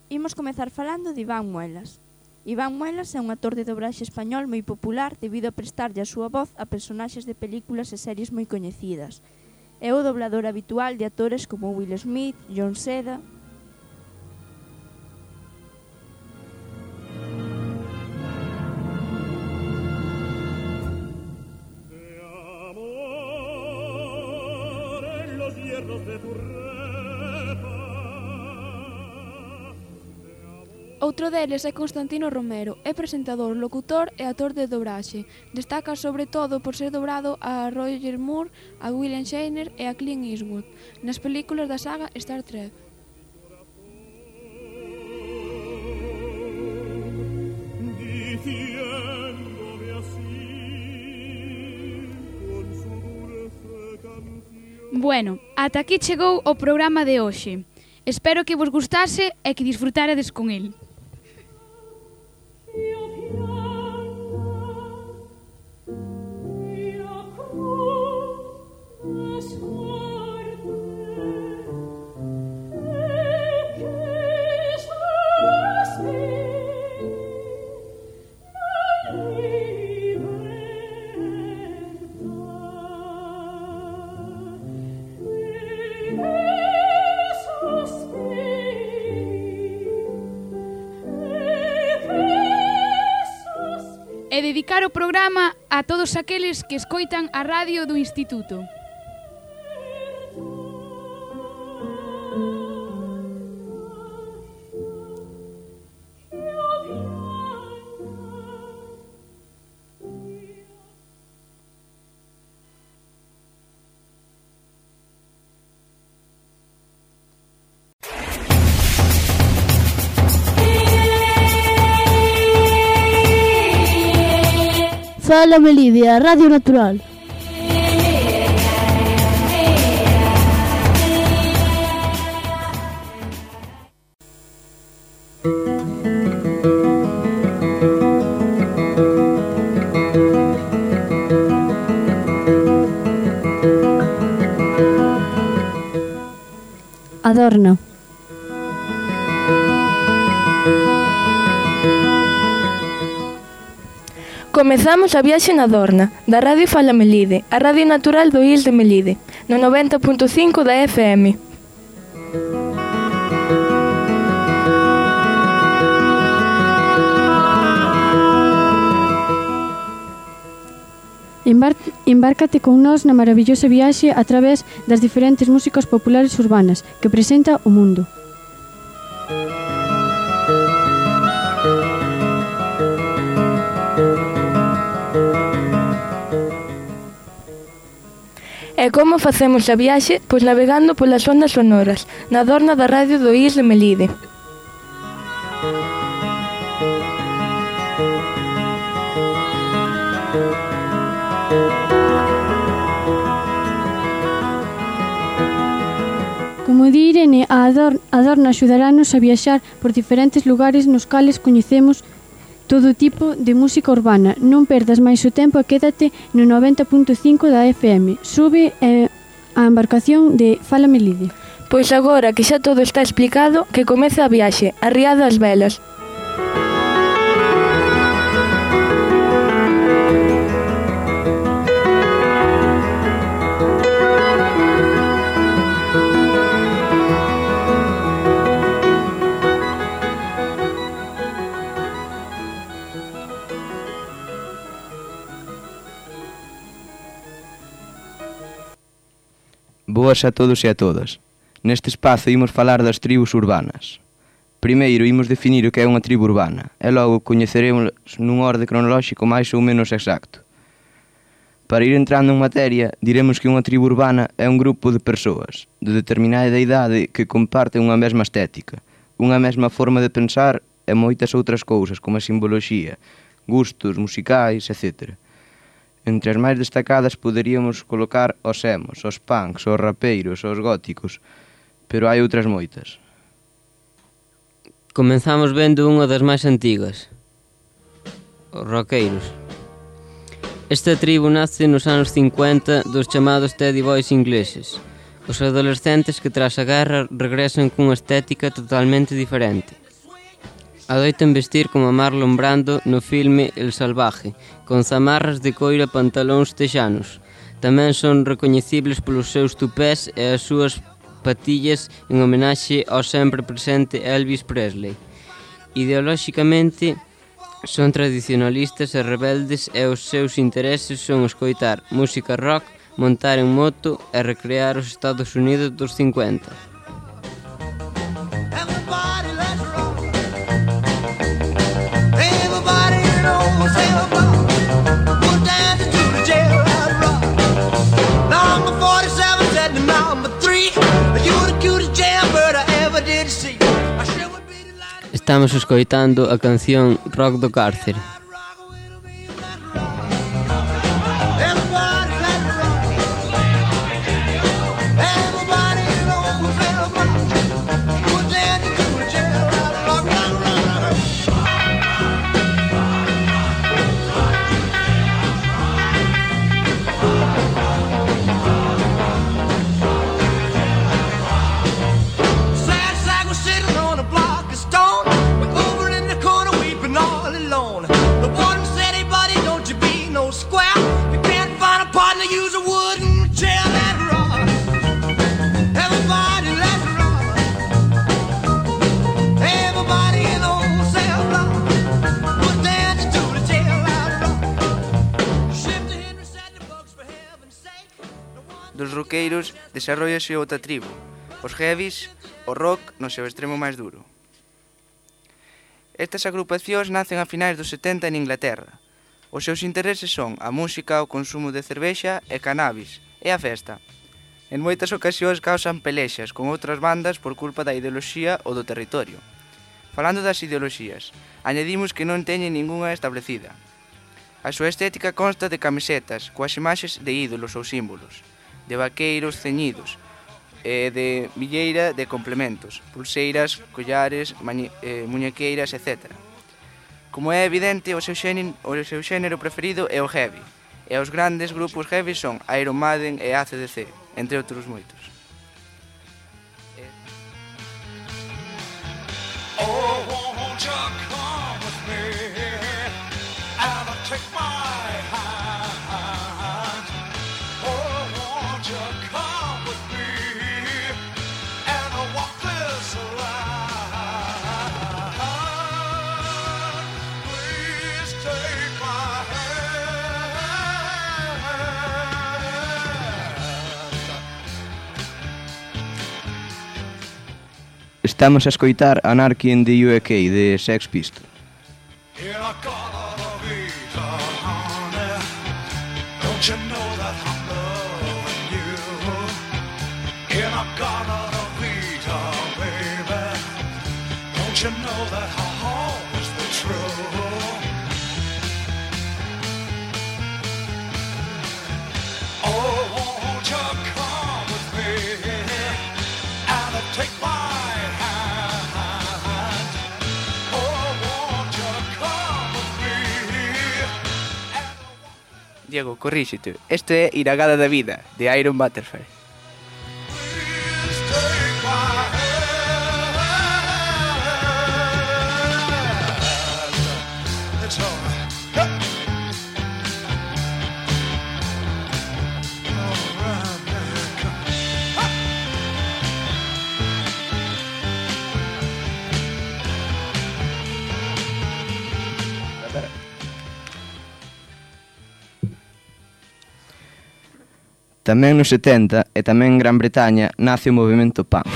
Imos comezar falando de Iván Muelas. Iván Muelas é un actor de dobraxe español moi popular debido a prestarlle a súa voz a personaxes de películas e series moi coñecidas. É o doblador habitual de actores como Will Smith, John Seda... Outro deles é Constantino Romero, é presentador, locutor e actor de dobraxe. Destaca sobre todo por ser dobrado a Roger Moore, a William Shatner e a Clint Eastwood nas películas da saga Star Trek. Bueno, ata aquí chegou o programa de hoxe. Espero que vos gustase e que disfrutarades con el. E dedicar o programa a todos aqueles que escoitan a radio do Instituto. Fala Melide, a Radio Natural. Adorna. Comezamos a viaxe na Dorna, da Radio Fala Melide, a Radio Natural do I L de Melide, no noventa punto cinco da F M. Embar embárcate con nós na maravillosa viaxe a través das diferentes músicas populares urbanas que presenta o mundo. E como facemos a viaxe? Pois navegando polas ondas sonoras, na Dorna da Radio do I S de Melide. Como di Irene, a Ador- Adorna axudaranos a viaxar por diferentes lugares nos cales coñecemos todo tipo de música urbana. Non perdas máis o tempo e quédate no noventa punto cinco da F M. Sube eh, a embarcación de Fala Melide. Pois agora que xa todo está explicado, que comece a viaxe, arriado ás velas. Boas a todos e a todas. Neste espazo imos falar das tribus urbanas. Primeiro imos definir o que é unha tribu urbana e logo coñeceremos nun orde cronolóxico máis ou menos exacto. Para ir entrando en materia, diremos que unha tribu urbana é un grupo de persoas de determinada idade que comparten unha mesma estética, unha mesma forma de pensar e moitas outras cousas como a simboloxía, gustos musicais, etcétera. Entre as máis destacadas poderíamos colocar os emos, os punks, os rapeiros, os góticos, pero hai outras moitas. Comenzamos vendo unha das máis antigas, os roqueiros. Esta tribo nace nos anos cincuenta dos chamados Teddy Boys ingleses, os adolescentes que tras a guerra regresan cunha estética totalmente diferente. Adoitan vestir como Marlon Brando no filme El Salvaje, con zamarras de coira e pantalóns texanos. Tamén son recoñecibles polos seus tupés e as súas patillas en homenaxe ao sempre presente Elvis Presley. Ideolóxicamente son tradicionalistas e rebeldes e os seus intereses son escoitar música rock, montar en moto e recrear os Estados Unidos dos cincuenta. Estamos escoitando a canción Rock do Cárcere. Dos roqueiros desarrollase outra tribu, os heavies, o rock no seu extremo máis duro. Estas agrupacións nacen a finais dos setenta en Inglaterra. Os seus intereses son a música, o consumo de cervexa e cannabis, e a festa. En moitas ocasións causan pelexas con outras bandas por culpa da ideoloxía ou do territorio. Falando das ideoloxías, añadimos que non teñen ningunha establecida. A súa estética consta de camisetas coas imaxes de ídolos ou símbolos, de vaqueiros ceñidos, e de villeira de complementos, pulseiras, collares, mañe, eh, muñequeiras, etcétera. Como é evidente, o seu, xénero, o seu xénero preferido é o heavy, e os grandes grupos heavy son Iron Maiden e A C D C, entre outros moitos. Oh, won't you come with me and take my hand? Oh, won't you come with me and walk this line? Please take my Estamos a escoitar Anarchy in the U K de Sex Pistols. Don't you know that I'm loving you? In a garden of Vita, baby. Don't you know that I'll always be true? Oh, won't you come with me and take my hand. Oh, won't you come with me? Diego, corríxete. Este é Iragada da Vida, de Iron Butterfly. It's all right. Huh. All right, there it comes. Huh. Tamén nos setenta e tamén en Gran Bretaña nace o movimento punk,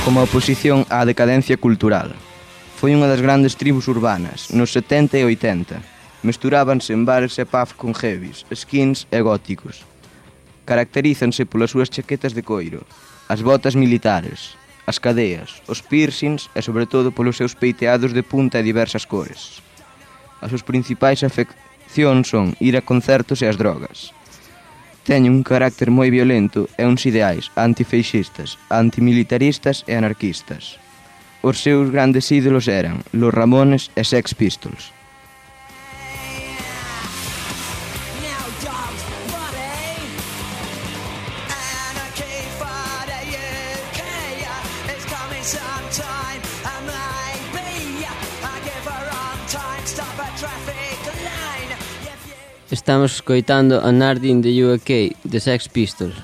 como oposición á decadencia cultural. Foi unha das grandes tribus urbanas, nos setenta e oitenta. Mesturábanse en bares e pubs con heavies, skins e góticos. Caracterízanse polas súas chaquetas de coiro, as botas militares, as cadeas, os piercings e sobre todo polos seus peiteados de punta e diversas cores. As súas principais afeccións son ir a concertos e as drogas. Teñen un carácter moi violento e uns ideais antifeixistas, antimilitaristas e anarquistas. Os seus grandes ídolos eran Los Ramones e Sex Pistols. Estamos escoitando a Nardi in the U K de Sex Pistols.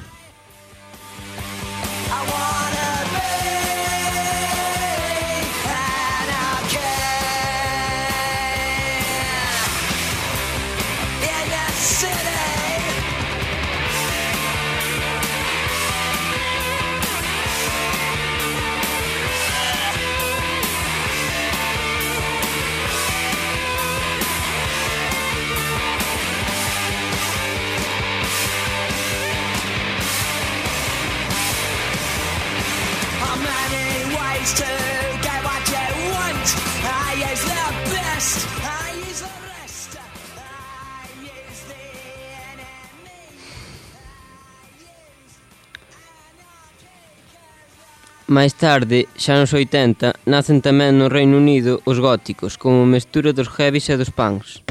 Máis tarde, xa nos oitenta, nacen tamén no Reino Unido os góticos, como mestura dos heavies e dos punks.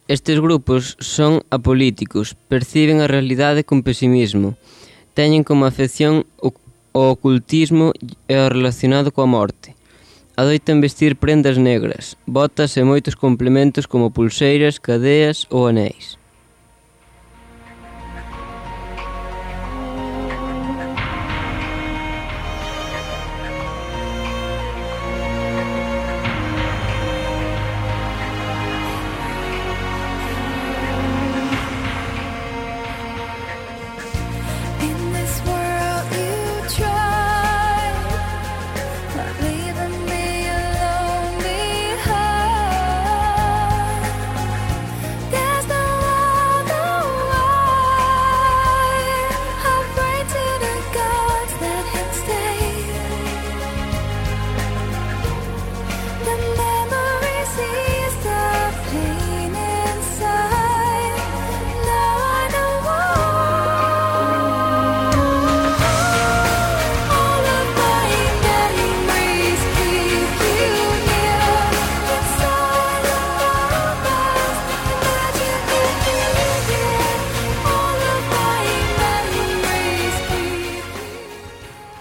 Estes grupos son apolíticos, perciben a realidade con pesimismo, teñen como afección o, o ocultismo e o relacionado coa morte. Adoitan vestir prendas negras, botas e moitos complementos como pulseiras, cadeas ou anéis.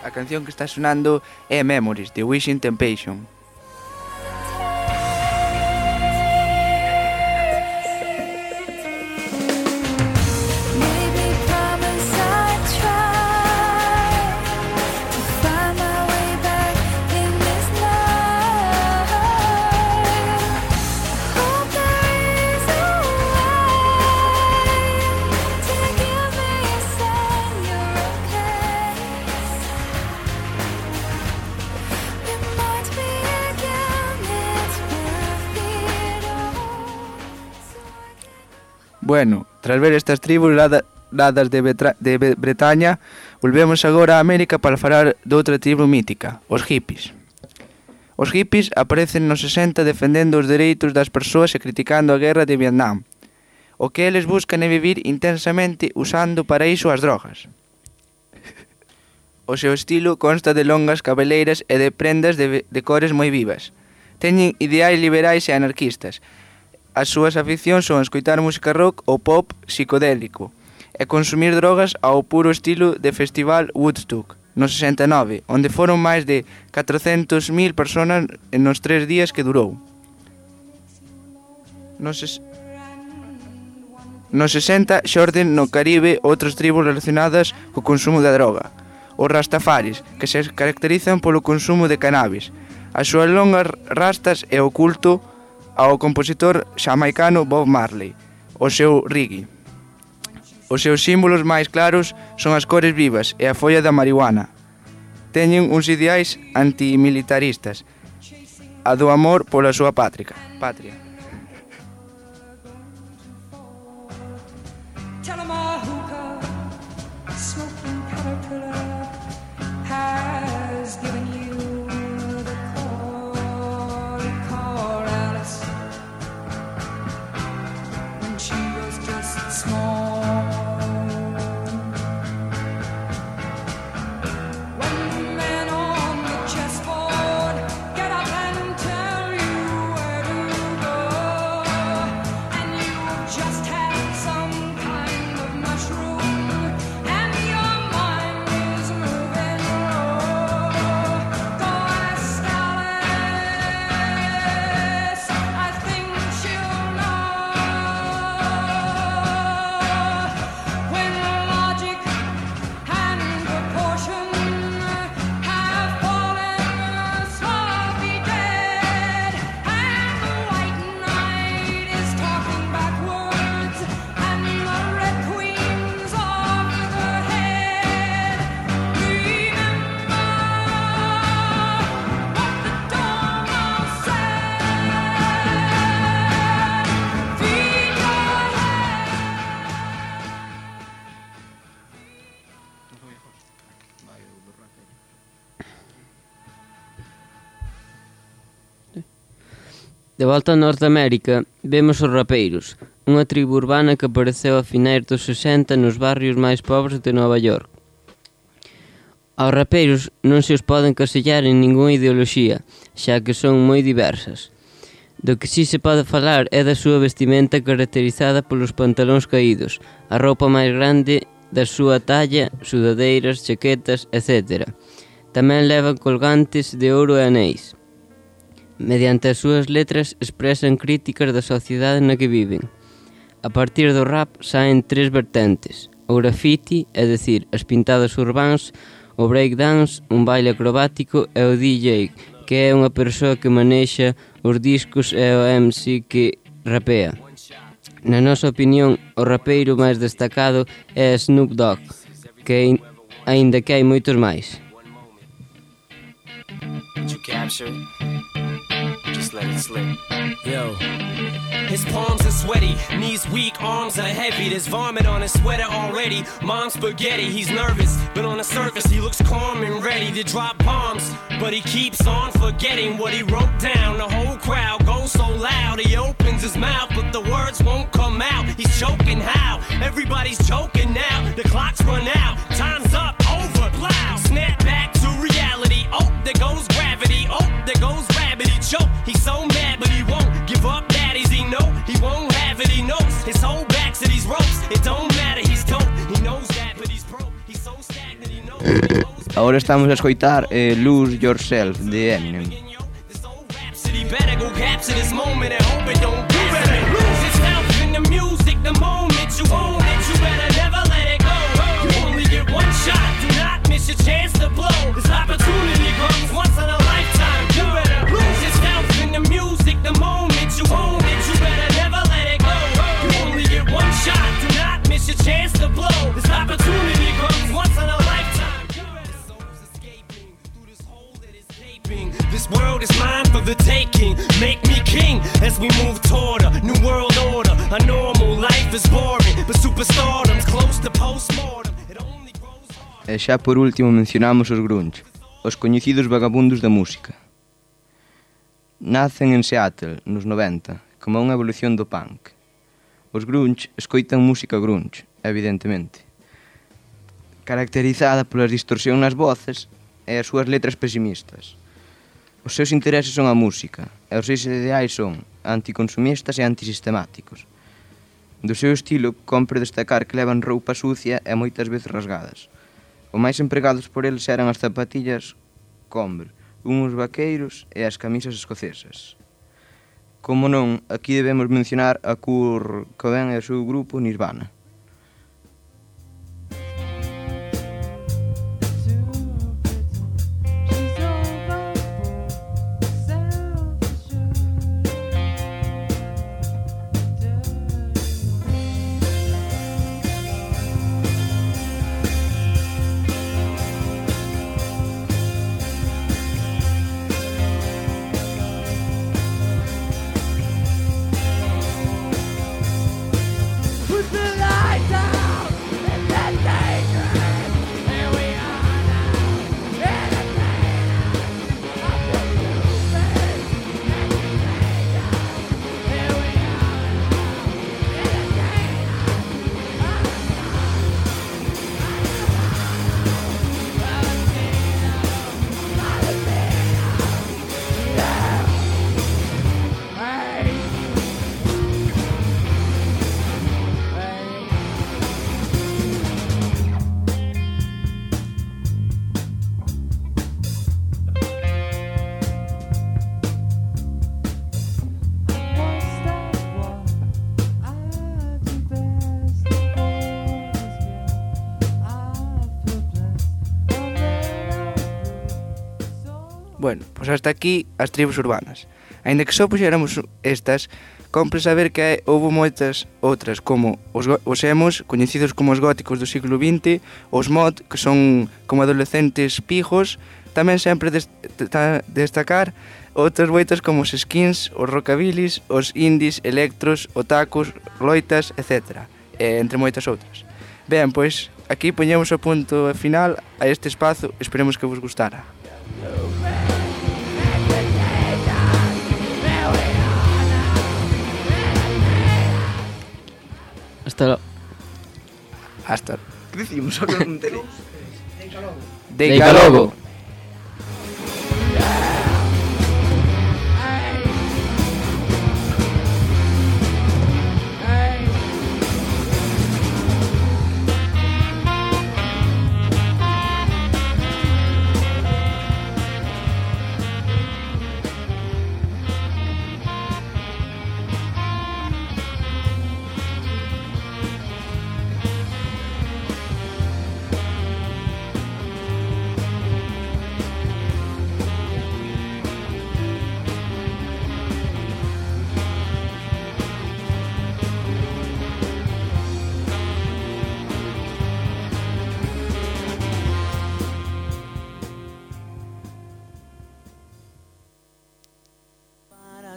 A canción que está sonando é Memories, de Wishing Temptation. Bueno, tras ver estas tribus dadas de, Betra de Bretaña, volvemos agora a América para falar de outra tribu mítica, os hippies. Os hippies aparecen nos sesenta defendendo os dereitos das persoas e criticando a guerra de Vietnam. O que eles buscan é vivir intensamente usando para iso as drogas. O seu estilo consta de longas cabeleiras e de prendas de, de cores moi vivas. Teñen ideais liberais e anarquistas. As súas aficións son escoitar música rock ou pop psicodélico e consumir drogas ao puro estilo de festival Woodstock, no sesenta e nove, onde foron máis de catrocentas mil personas nos tres días que durou. Nos, ses... nos sesenta xorden no Caribe outras tribos relacionadas co consumo da droga. Os rastafaris, que se caracterizan polo consumo de cannabis. As súas longas rastas e o culto ao compositor xamaicano Bob Marley, o seu reggae. Os seus símbolos máis claros son as cores vivas e a folla da marihuana. Teñen uns ideais antimilitaristas, a do amor pola súa patria. patria. De volta a Norteamérica, vemos os rapeiros, unha tribu urbana que apareceu a finais dos sesenta nos barrios máis pobres de Nova York. Aos rapeiros non se os poden casellar en ningunha ideoloxía, xa que son moi diversas. Do que si se pode falar é da súa vestimenta caracterizada polos pantalóns caídos, a roupa máis grande da súa talla, sudadeiras, chaquetas, etcétera. Tamén levan colgantes de ouro e anéis. Mediante as súas letras expresan críticas da sociedade na que viven. A partir do rap saen tres vertentes: o graffiti, é dicir, as pintadas urbáns, o breakdance, un baile acrobático, e o D J, que é unha persoa que manexa os discos, e o M C que rapea. Na nosa opinión, o rapeiro máis destacado é Snoop Dogg, que aínda que hai moitos máis. Just let it slip. Yo. His palms are sweaty, knees weak, arms are heavy. There's vomit on his sweater already. Mom's spaghetti, he's nervous, but on the surface he looks calm and ready to drop bombs. But he keeps on forgetting what he wrote down. The whole crowd goes so loud, he opens his mouth, but the words won't come out. He's choking how? Everybody's choking now. The clock's run out, time's up, over, plow. Snap back to reality. Oh, there goes gravity. Oh, there goes gravity. Choke. He's so mad, but he won't give up. Daddies, he know he won't have it. He knows his whole back to these ropes. It don't matter, he's dope. He knows that, but he's broke. He's so stagnant, he knows. He knows Ahora estamos a escoitar eh, Lose Yourself de Eminem. He better go capture this moment and hope it don't get better. Lose yourself in the music the moment you own it. You better never let it go. You only get one shot. Do not miss your chance to blow. This opportunity comes once in a lifetime. You better lose yourself in the music the moment you own it. You better never let it go. You only get one shot. Do not miss your chance to blow. This opportunity comes once in a lifetime. This soul's escaping through this hole that is gaping. This world is mine for the taking. Make me king as we move toward a new world order. A normal life is boring, but superstardom's close to postmortem. It only grows harder. E xa por último mencionamos os grunge, os coñecidos vagabundos da música. Nacen en Seattle, nos noventa, como unha evolución do punk. Os grunge escoitan música grunge, evidentemente, caracterizada pola distorsión nas voces e as súas letras pesimistas. Os seus intereses son a música, e os seus ideais son anticonsumistas e antisistemáticos. Do seu estilo, compre destacar que levan roupa sucia e moitas veces rasgadas. O máis empregados por eles eran as zapatillas Converse, uns vaqueiros e as camisas escocesas. Como non, aquí debemos mencionar a Kurt Cobain e o seu grupo Nirvana. Bueno, pois hasta aquí as tribus urbanas. Aínda que só puxéramos estas, compre saber que houve moitas outras, como os, os emos, coñecidos como os góticos do siglo vinte, os mod, que son como adolescentes pijos, tamén sempre dest destacar outras moitas como os skins, os rockabilis, os indies, electros, otakus, loitas, etcétera, e entre moitas outras. Ben, pois, aquí poñemos o punto final a este espazo, esperemos que vos gustara. Hasta logo. Hasta. Que dicimos? Só que non enterei. Deica logo.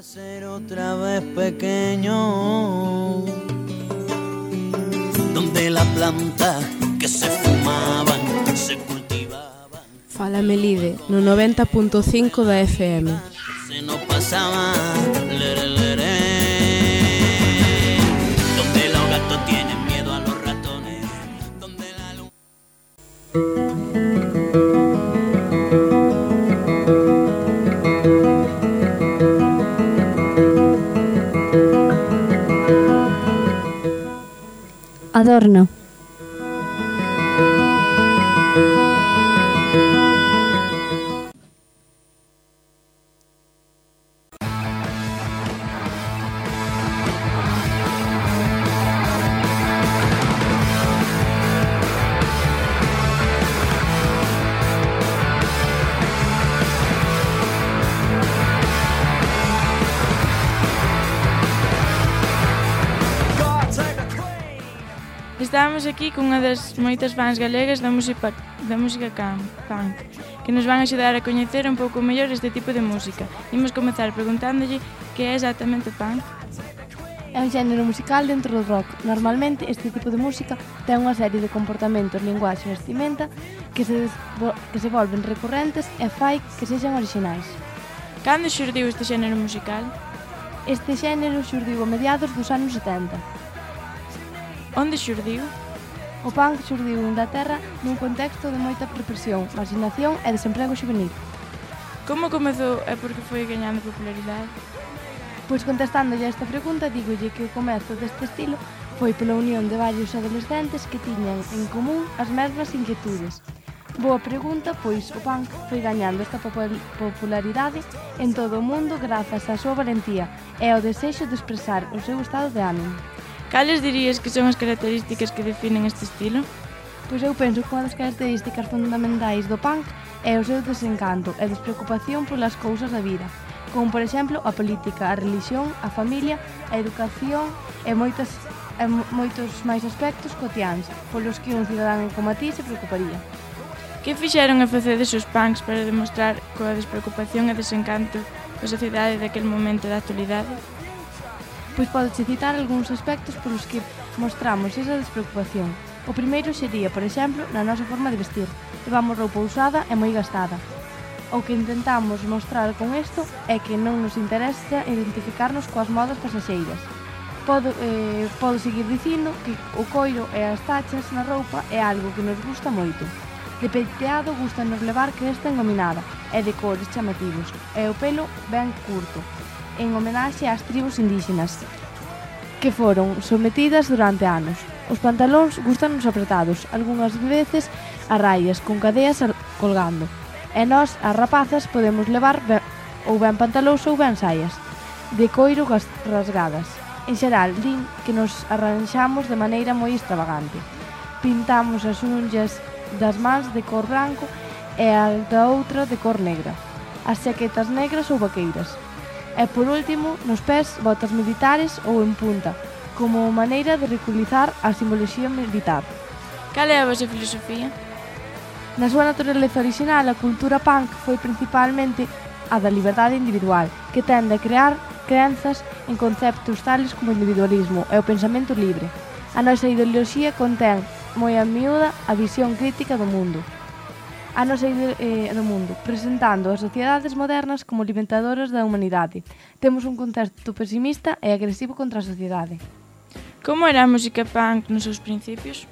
Ser otra vez pequeño, donde la planta que se fumaban se cultivaban. Fala Melide no noventa punto cinco da F M. Se nos pasaba lere, lere, donde los gatos tienen miedo a los ratones, donde la luz. Adorno. Estamos aquí con unha das moitas fans galegas da música, da música punk, que nos van a axudar a coñecer un pouco mellor este tipo de música. Imos comezar preguntándolle que é exactamente o punk. É un xénero musical dentro do rock. Normalmente este tipo de música ten unha serie de comportamentos, linguaxe e vestimenta que se, que se volven recurrentes e fai que sexan orixinais. Cando xurdiu este xénero musical? Este xénero xurdiu a mediados dos anos setenta. Onde xurdiu? O punk xurdiu en Inglaterra nun contexto de moita represión, marginación e desemprego xuvenil. Como comezou e por que foi gañando popularidade? Pois contestándolle a esta pregunta, dígolle que o comezo deste estilo foi pola unión de varios adolescentes que tiñan en común as mesmas inquietudes. Boa pregunta, pois o punk foi gañando esta popularidade en todo o mundo grazas á súa valentía e ao desexo de expresar o seu estado de ánimo. Cales dirías que son as características que definen este estilo? Pois eu penso que unha das características fundamentais do punk é o seu desencanto e despreocupación polas cousas da vida, como por exemplo a política, a religión, a familia, a educación e moitas, e moitos máis aspectos cotiáns polos que un cidadán como a ti se preocuparía. Que fixeron e facedes os punks para demostrar coa despreocupación e desencanto da sociedade daquel momento da actualidade? Pois podeche citar algúns aspectos polos que mostramos esa despreocupación. O primeiro sería, por exemplo, na nosa forma de vestir. Levamos roupa usada e moi gastada. O que intentamos mostrar con isto é que non nos interesa identificarnos coas modas pasaxeiras. Podo, eh, podo seguir dicindo que o coiro e as tachas na roupa é algo que nos gusta moito. De peiteado gustanos levar cresta engominada e de cores chamativos, e o pelo ben curto, en homenaxe ás tribus indígenas que foron sometidas durante anos. Os pantalóns gustanos apretados, algunhas veces a raias, con cadeas colgando. E nós, as rapazas, podemos levar ben, ou ben pantalóns ou ben saias, de coiro rasgadas. En xeral, din que nos arranxamos de maneira moi extravagante. Pintamos as unhas das mans de cor branco e a da outra de cor negra, as chaquetas negras ou vaqueiras. E por último, nos pés, botas militares ou en punta, como maneira de ridiculizar a simboloxía militar. Cal é a vosa filosofía? Na súa naturaleza original, a cultura punk foi principalmente a da liberdade individual, que tende a crear crenzas en conceptos tales como o individualismo e o pensamento libre. A nosa ideoloxía contén moi a miúda a visión crítica do mundo. A nosa eh, do mundo, presentando as sociedades modernas como alimentadoras da humanidade. Temos un contexto pesimista e agresivo contra a sociedade. Como era a música punk nos seus principios?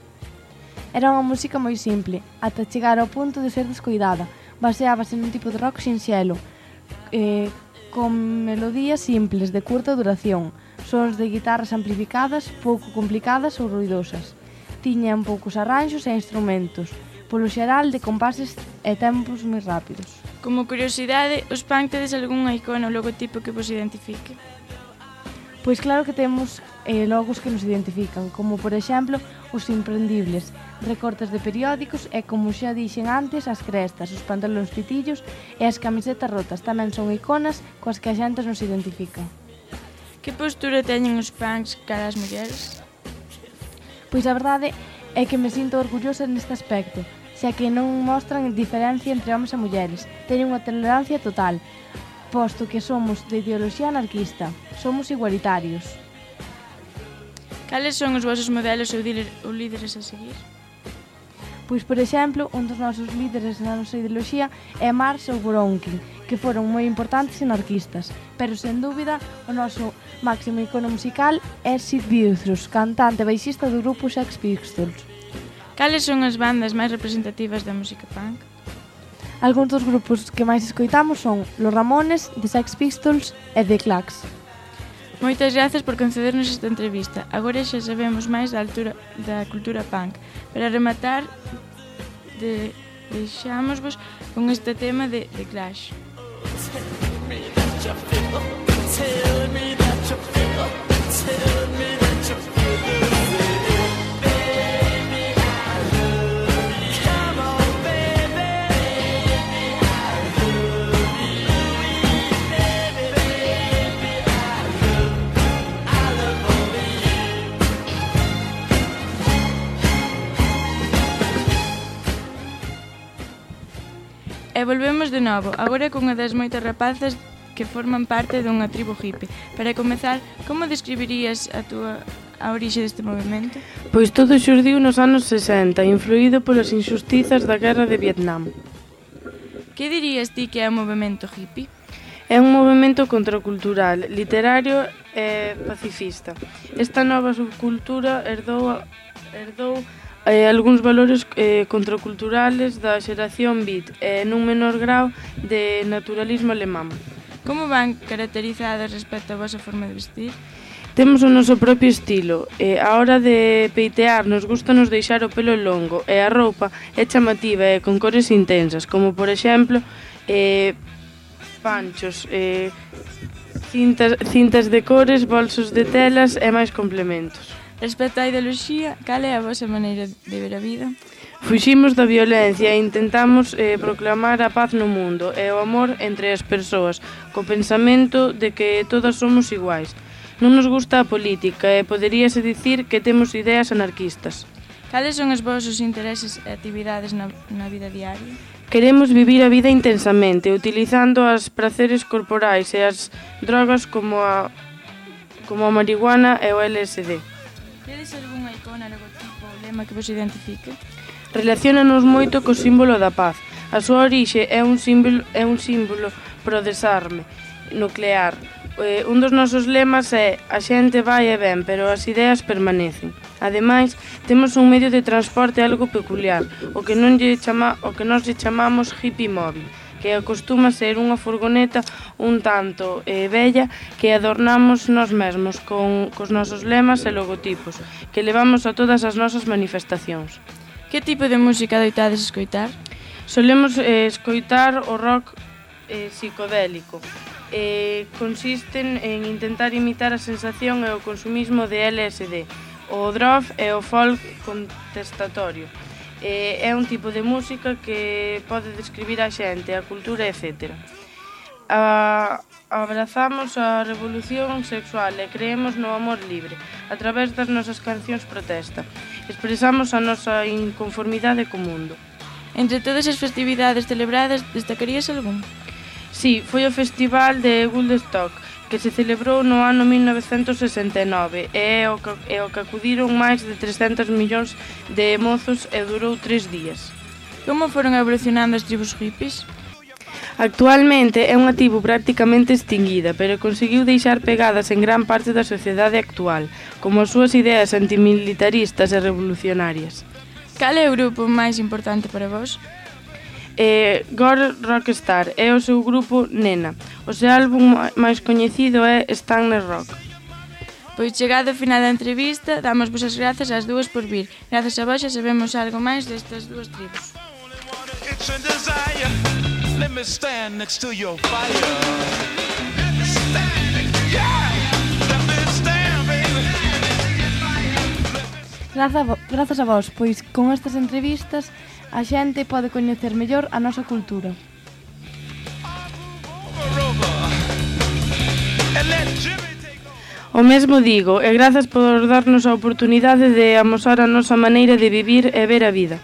Era unha música moi simple, ata chegar ao punto de ser descoidada. Baseábase nun tipo de rock sinxelo, eh, con melodías simples de curta duración, sons de guitarras amplificadas, pouco complicadas ou ruidosas. Tiñan poucos arranxos e instrumentos, polo xeral de compases e tempos moi rápidos. Como curiosidade, os punk tedes algunha icona ou logotipo que vos identifique? Pois claro que temos eh, logos que nos identifican, como por exemplo os imprendibles, recortes de periódicos e, como xa dixen antes, as crestas, os pantalóns pitillos e as camisetas rotas tamén son iconas coas que a xente nos identifica. Que postura teñen os punks cara ás mulleres? Pois a verdade é que me sinto orgullosa neste aspecto, xa que non mostran diferencia entre homes e mulleres, teñen unha tolerancia total, posto que somos de ideoloxía anarquista, somos igualitarios. Cales son os vosos modelos ou líderes a seguir? Pois, por exemplo, un dos nosos líderes na nosa ideoloxía é Marx ou Bronkin, que foron moi importantes anarquistas, pero, sen dúbida, o noso máximo icono musical é Sid Vicious, cantante e baixista do grupo Sex Pistols. Cales son as bandas máis representativas da música punk? Algúns dos grupos que máis escoitamos son Los Ramones, The Sex Pistols e The Clash. Moitas grazas por concedernos esta entrevista. Agora xa sabemos máis da altura da cultura punk. Para rematar, de, deixámosvos con este tema de The Clash. E volvemos de novo, agora con unha das moitas rapazas que forman parte dunha tribo hippie. Para comezar, como describirías a túa a orixe deste movimento? Pois todo xurdiu nos anos sesenta, influído polas injustizas da guerra de Vietnam. Que dirías ti que é o movimento hippie? É un movimento contracultural, literario e pacifista. Esta nova subcultura herdou, herdou eh, algúns valores eh, contraculturales da xeración beat e nun menor grau de naturalismo alemán. Como van caracterizadas respecto á vosa forma de vestir? Temos o noso propio estilo, e a hora de peitear nos gusta nos deixar o pelo longo e a roupa é chamativa e con cores intensas, como por exemplo eh, panchos, eh, cintas, cintas de cores, bolsos de telas e máis complementos. Respecto á ideoloxía, cal é a vosa maneira de ver a vida? Fuximos da violencia e intentamos eh, proclamar a paz no mundo e o amor entre as persoas, co pensamento de que todas somos iguais. Non nos gusta a política e poderíase dicir que temos ideas anarquistas. Cales son os vosos intereses e actividades na, na vida diaria? Queremos vivir a vida intensamente, utilizando as praceres corporais e as drogas como a, como a marihuana e o L S D. Tedes algunha icona, logotipo ou lema que vos identifique? Relaciónanos moito co símbolo da paz. A súa orixe é un símbolo, é un símbolo pro desarme nuclear. Eh, un dos nosos lemas é a xente vai e ven, pero as ideas permanecen. Ademais, temos un medio de transporte algo peculiar, o que, non lle chama, o que nós lle chamamos hippie móvil, que acostuma ser unha furgoneta un tanto eh, bella que adornamos nós mesmos con cos nosos lemas e logotipos, que levamos a todas as nosas manifestacións. Que tipo de música adoitades escoitar? Solemos eh, escoitar o rock eh, psicodélico. Eh, consisten en intentar imitar a sensación e o consumismo de L S D, o drop e o folk contestatorio. Eh, é un tipo de música que pode describir a xente, a cultura, etcétera. A, abrazamos a revolución sexual e creemos no amor libre a través das nosas cancións protesta. Expresamos a nosa inconformidade co mundo. Entre todas as festividades celebradas, destacarías algún? Sí, foi o Festival de Woodstock, que se celebrou no ano mil novecentos sesenta e nove e é o que, é o que acudiron máis de trescentos millóns de mozos e durou tres días. Como foron evolucionando as tribus hippies? Actualmente é unha tribu prácticamente extinguida, pero conseguiu deixar pegadas en gran parte da sociedade actual, como as súas ideas antimilitaristas e revolucionarias. Cal é o grupo máis importante para vos? Eh, Gore Rockstar é o seu grupo Nena. O seu álbum máis coñecido é Stanley Rock. Pois chegado ao final da entrevista, damos vos as grazas ás dúas por vir. Grazas a vos xa sabemos algo máis destas dúas tribus. Let me stand next to your fire. Grazas a vos, pois con estas entrevistas a xente pode coñecer mellor a nosa cultura. O mesmo digo, e grazas por darnos a oportunidade de amosar a nosa maneira de vivir e ver a vida.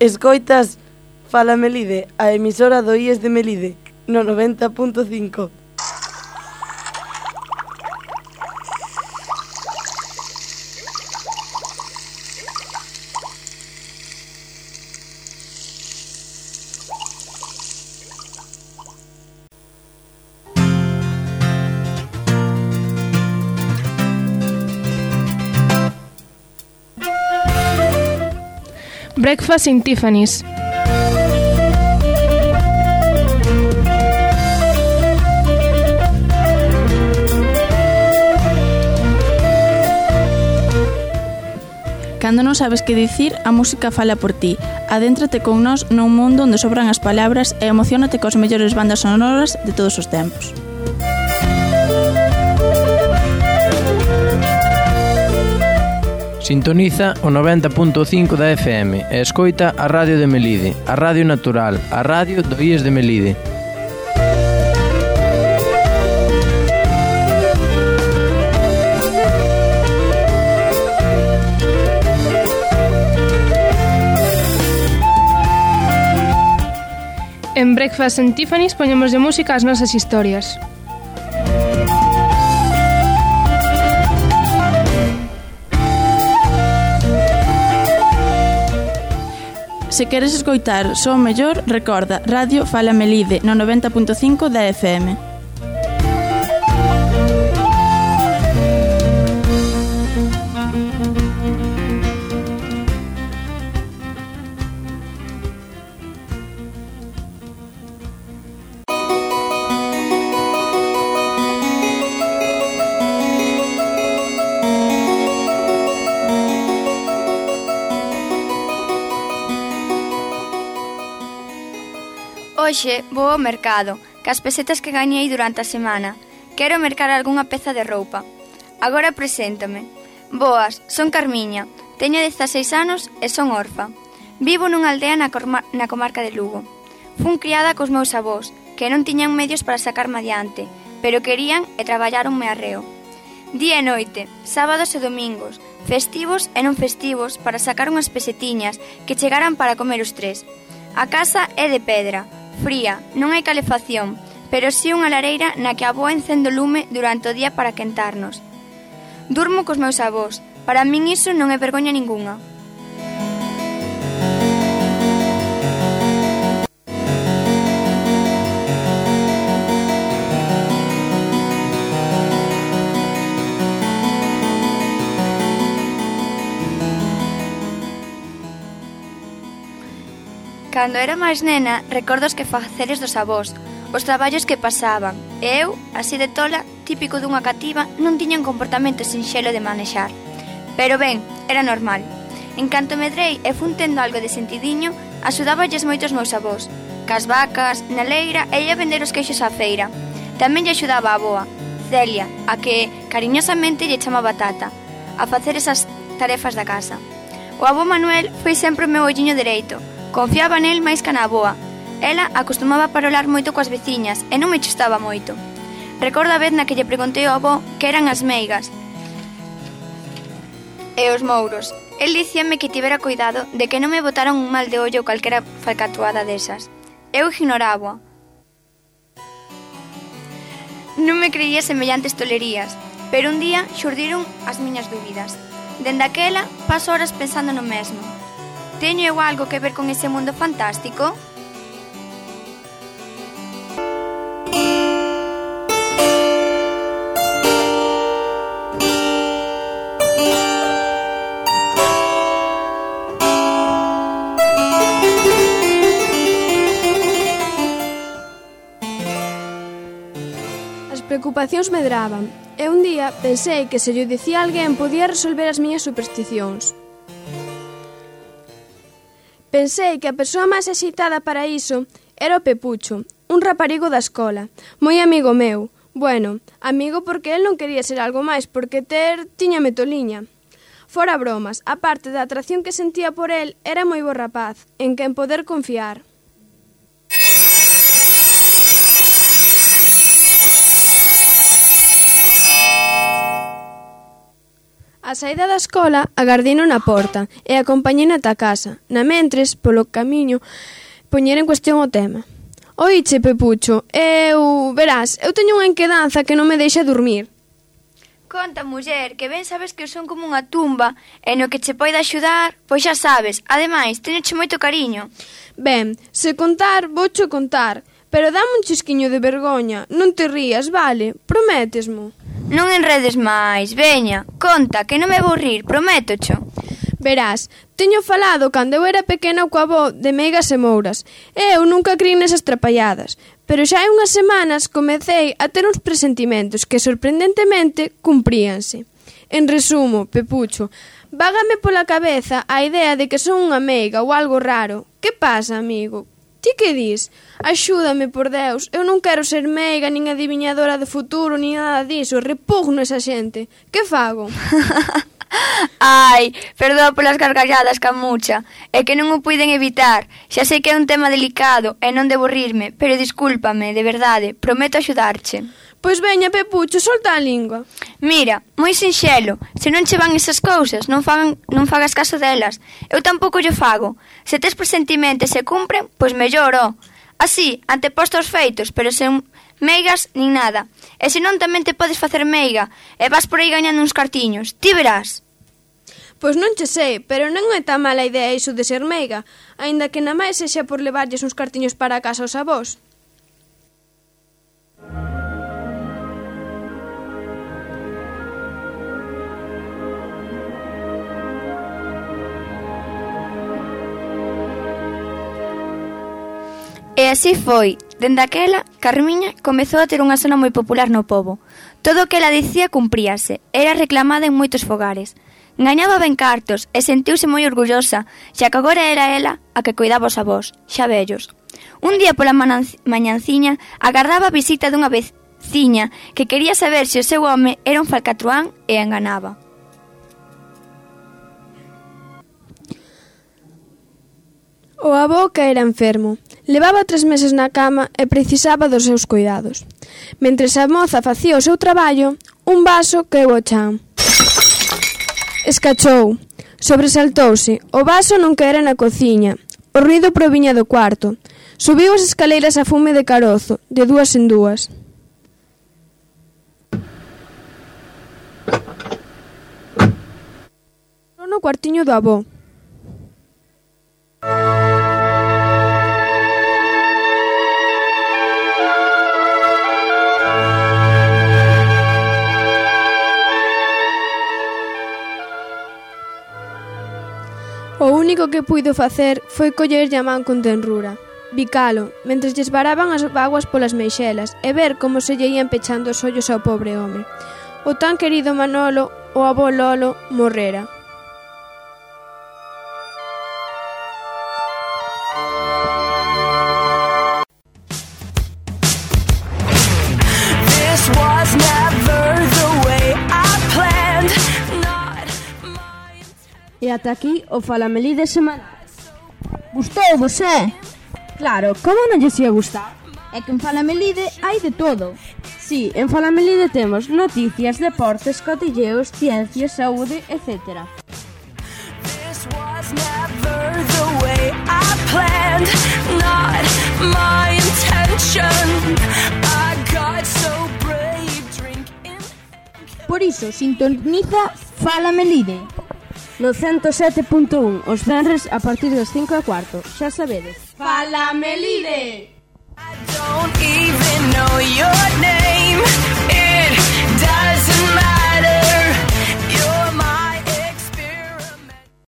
Escoitas Fala Melide, a emisora do I E S de Melide, no noventa punto cinco. Breakfast in Tiffany's. Cando non sabes que dicir, a música fala por ti. Adéntrate con nós nun mundo onde sobran as palabras e emociónate cos mellores bandas sonoras de todos os tempos. Sintoniza o noventa punto cinco da F M e escoita a Radio de Melide, a Radio Natural, a Radio do I E S de Melide. En Breakfast in Tiffany's poñemos de música as nosas historias. Se queres escoitar só o mellor, recorda Radio Fala Melide no noventa punto cinco da F M. Hoxe vou ao mercado, cas pesetas que gañei durante a semana. Quero mercar algunha peza de roupa. Agora preséntame. Boas, son Carmiña, teño dezaseis anos e son orfa. Vivo nunha aldea na, na comarca de Lugo. Fun criada cos meus avós, que non tiñan medios para sacarme adiante, pero querían e traballaronme arreo. Día e noite, sábados e domingos, festivos e non festivos para sacar unhas pesetiñas que chegaran para comer os tres. A casa é de pedra, fría, non hai calefacción, pero si unha lareira na que a avoa encende o lume durante o día para quentarnos. Durmo cos meus avós, para min iso non é vergoña ningunha. Cando era máis nena, recordo os quefaceres dos avós, os traballos que pasaban, e eu, así de tola, típico dunha cativa, non tiña un comportamento sinxelo de manexar. Pero ben, era normal. En canto medrei e fun tendo algo de sentidiño, axudáballes moitos meus avós, cas vacas, na leira e ia vender os queixos á feira. Tamén lle axudaba a avoa, Celia, a que cariñosamente lle chamaba Tata, a facer esas tarefas da casa. O avó Manuel foi sempre o meu olliño dereito. Confiaba nel máis que na avoa. Ela acostumaba a parolar moito coas veciñas e non me chustaba moito. Recordo a vez na que lle preguntei ao avó que eran as meigas e os mouros. El dicíame que tivera cuidado de que non me botaran un mal de ollo ou calquera falcatuada desas. Eu ignoraba. Non me creía semellantes tolerías, pero un día xurdiron as miñas dúbidas. Dende aquela, paso horas pensando no mesmo. Teño eu algo que ver con ese mundo fantástico? As preocupacións medraban, e un día pensei que se llo dicía a alguén podía resolver as miñas supersticións. Pensei que a persoa máis axitada para iso era o Pepucho, un raparigo da escola, moi amigo meu. Bueno, amigo porque el non quería ser algo máis, porque ter tiñame toliña. Fora bromas, a parte da atracción que sentía por el, era moi bo rapaz, en quen poder confiar. A saída da escola, agardino na porta e acompañei ata a casa. Na mentres, polo camiño, poñer en cuestión o tema. Oiche, Pepucho, eu... verás, eu teño unha inquedanza que non me deixa dormir. Conta, muller, que ben sabes que eu son como unha tumba e no que che poida axudar, pois xa sabes. Ademais, teñoche moito cariño. Ben, se contar, voucho contar, pero dame un chisquiño de vergoña. Non te rías, vale? Prométesmo. Non enredes máis, veña, conta, que non me vou rir, prométocho. Verás, teño falado cando eu era pequena coa avó de meigas e mouras. Eu nunca crin nesas trapalladas, pero xa hai unhas semanas comecei a ter uns presentimentos que sorprendentemente cumpríanse. En resumo, Pepucho, vágame pola cabeza a idea de que son unha meiga ou algo raro. Que pasa, amigo? Ti que dis? Axúdame, por Deus, eu non quero ser meiga, nin adiviñadora de futuro, nin nada diso, repugno esa xente. Que fago? Ai, perdoa polas gargalladas, Camucha, é que non o puiden evitar. Xa sei que é un tema delicado e non debo rirme, pero discúlpame, de verdade, prometo axudarche. Pois veña, Pepucho, solta a lingua. Mira, moi sinxelo, se non che van esas cousas, non, fagan, non fagas caso delas. Eu tampouco lle fago. Se tes presentimentos e se cumpren, pois mellor, ó. Así, anteposto aos feitos, pero sen meigas nin nada. E se non tamén te podes facer meiga e vas por aí gañando uns cartiños, ti verás. Pois non che sei, pero non é tan mala idea iso de ser meiga, aínda que na máis sexa por levarlles uns cartiños para a casa aos avós. E así foi. Dende aquela, Carmiña comezou a ter unha sona moi popular no pobo. Todo o que ela dicía cumpríase, era reclamada en moitos fogares. Gañaba ben cartos e sentiuse moi orgullosa, xa que agora era ela a que cuidaba os avós, xa vellos. Un día pola mañanciña agardaba a visita dunha veciña que quería saber se o seu home era un falcatruán e enganaba. O avó que era enfermo. Levaba tres meses na cama e precisaba dos seus cuidados. Mentres a moza facía o seu traballo, un vaso caeu ao chan. Escachou. Sobresaltouse. O vaso non caera na cociña. O ruido proviña do cuarto. Subiu as escaleiras a fume de carozo, de dúas en dúas. No cuartiño do avó. O único que puido facer foi collerlle a man con tenrura, bicalo, mentres lles varaban as vaguas polas meixelas e ver como se lle ían pechando os ollos ao pobre home. O tan querido Manolo, o avó Lolo, morrera. This was never the way I planned. E ata aquí o Falamelide semanal. Gustou-vos, eh? Claro, como non lles ia gustar? É que en Falamelide hai de todo. Si, en Falamelide temos noticias, deportes, cotilleos, ciencias, saúde, etcétera. This was never the way I planned. Not my intention. I got so brave drinking. Por iso, sintoniza Falamelide no ciento sete punto un os venres a partir das cinco e cuarto. Xa sabedes. Falamelide. I don't even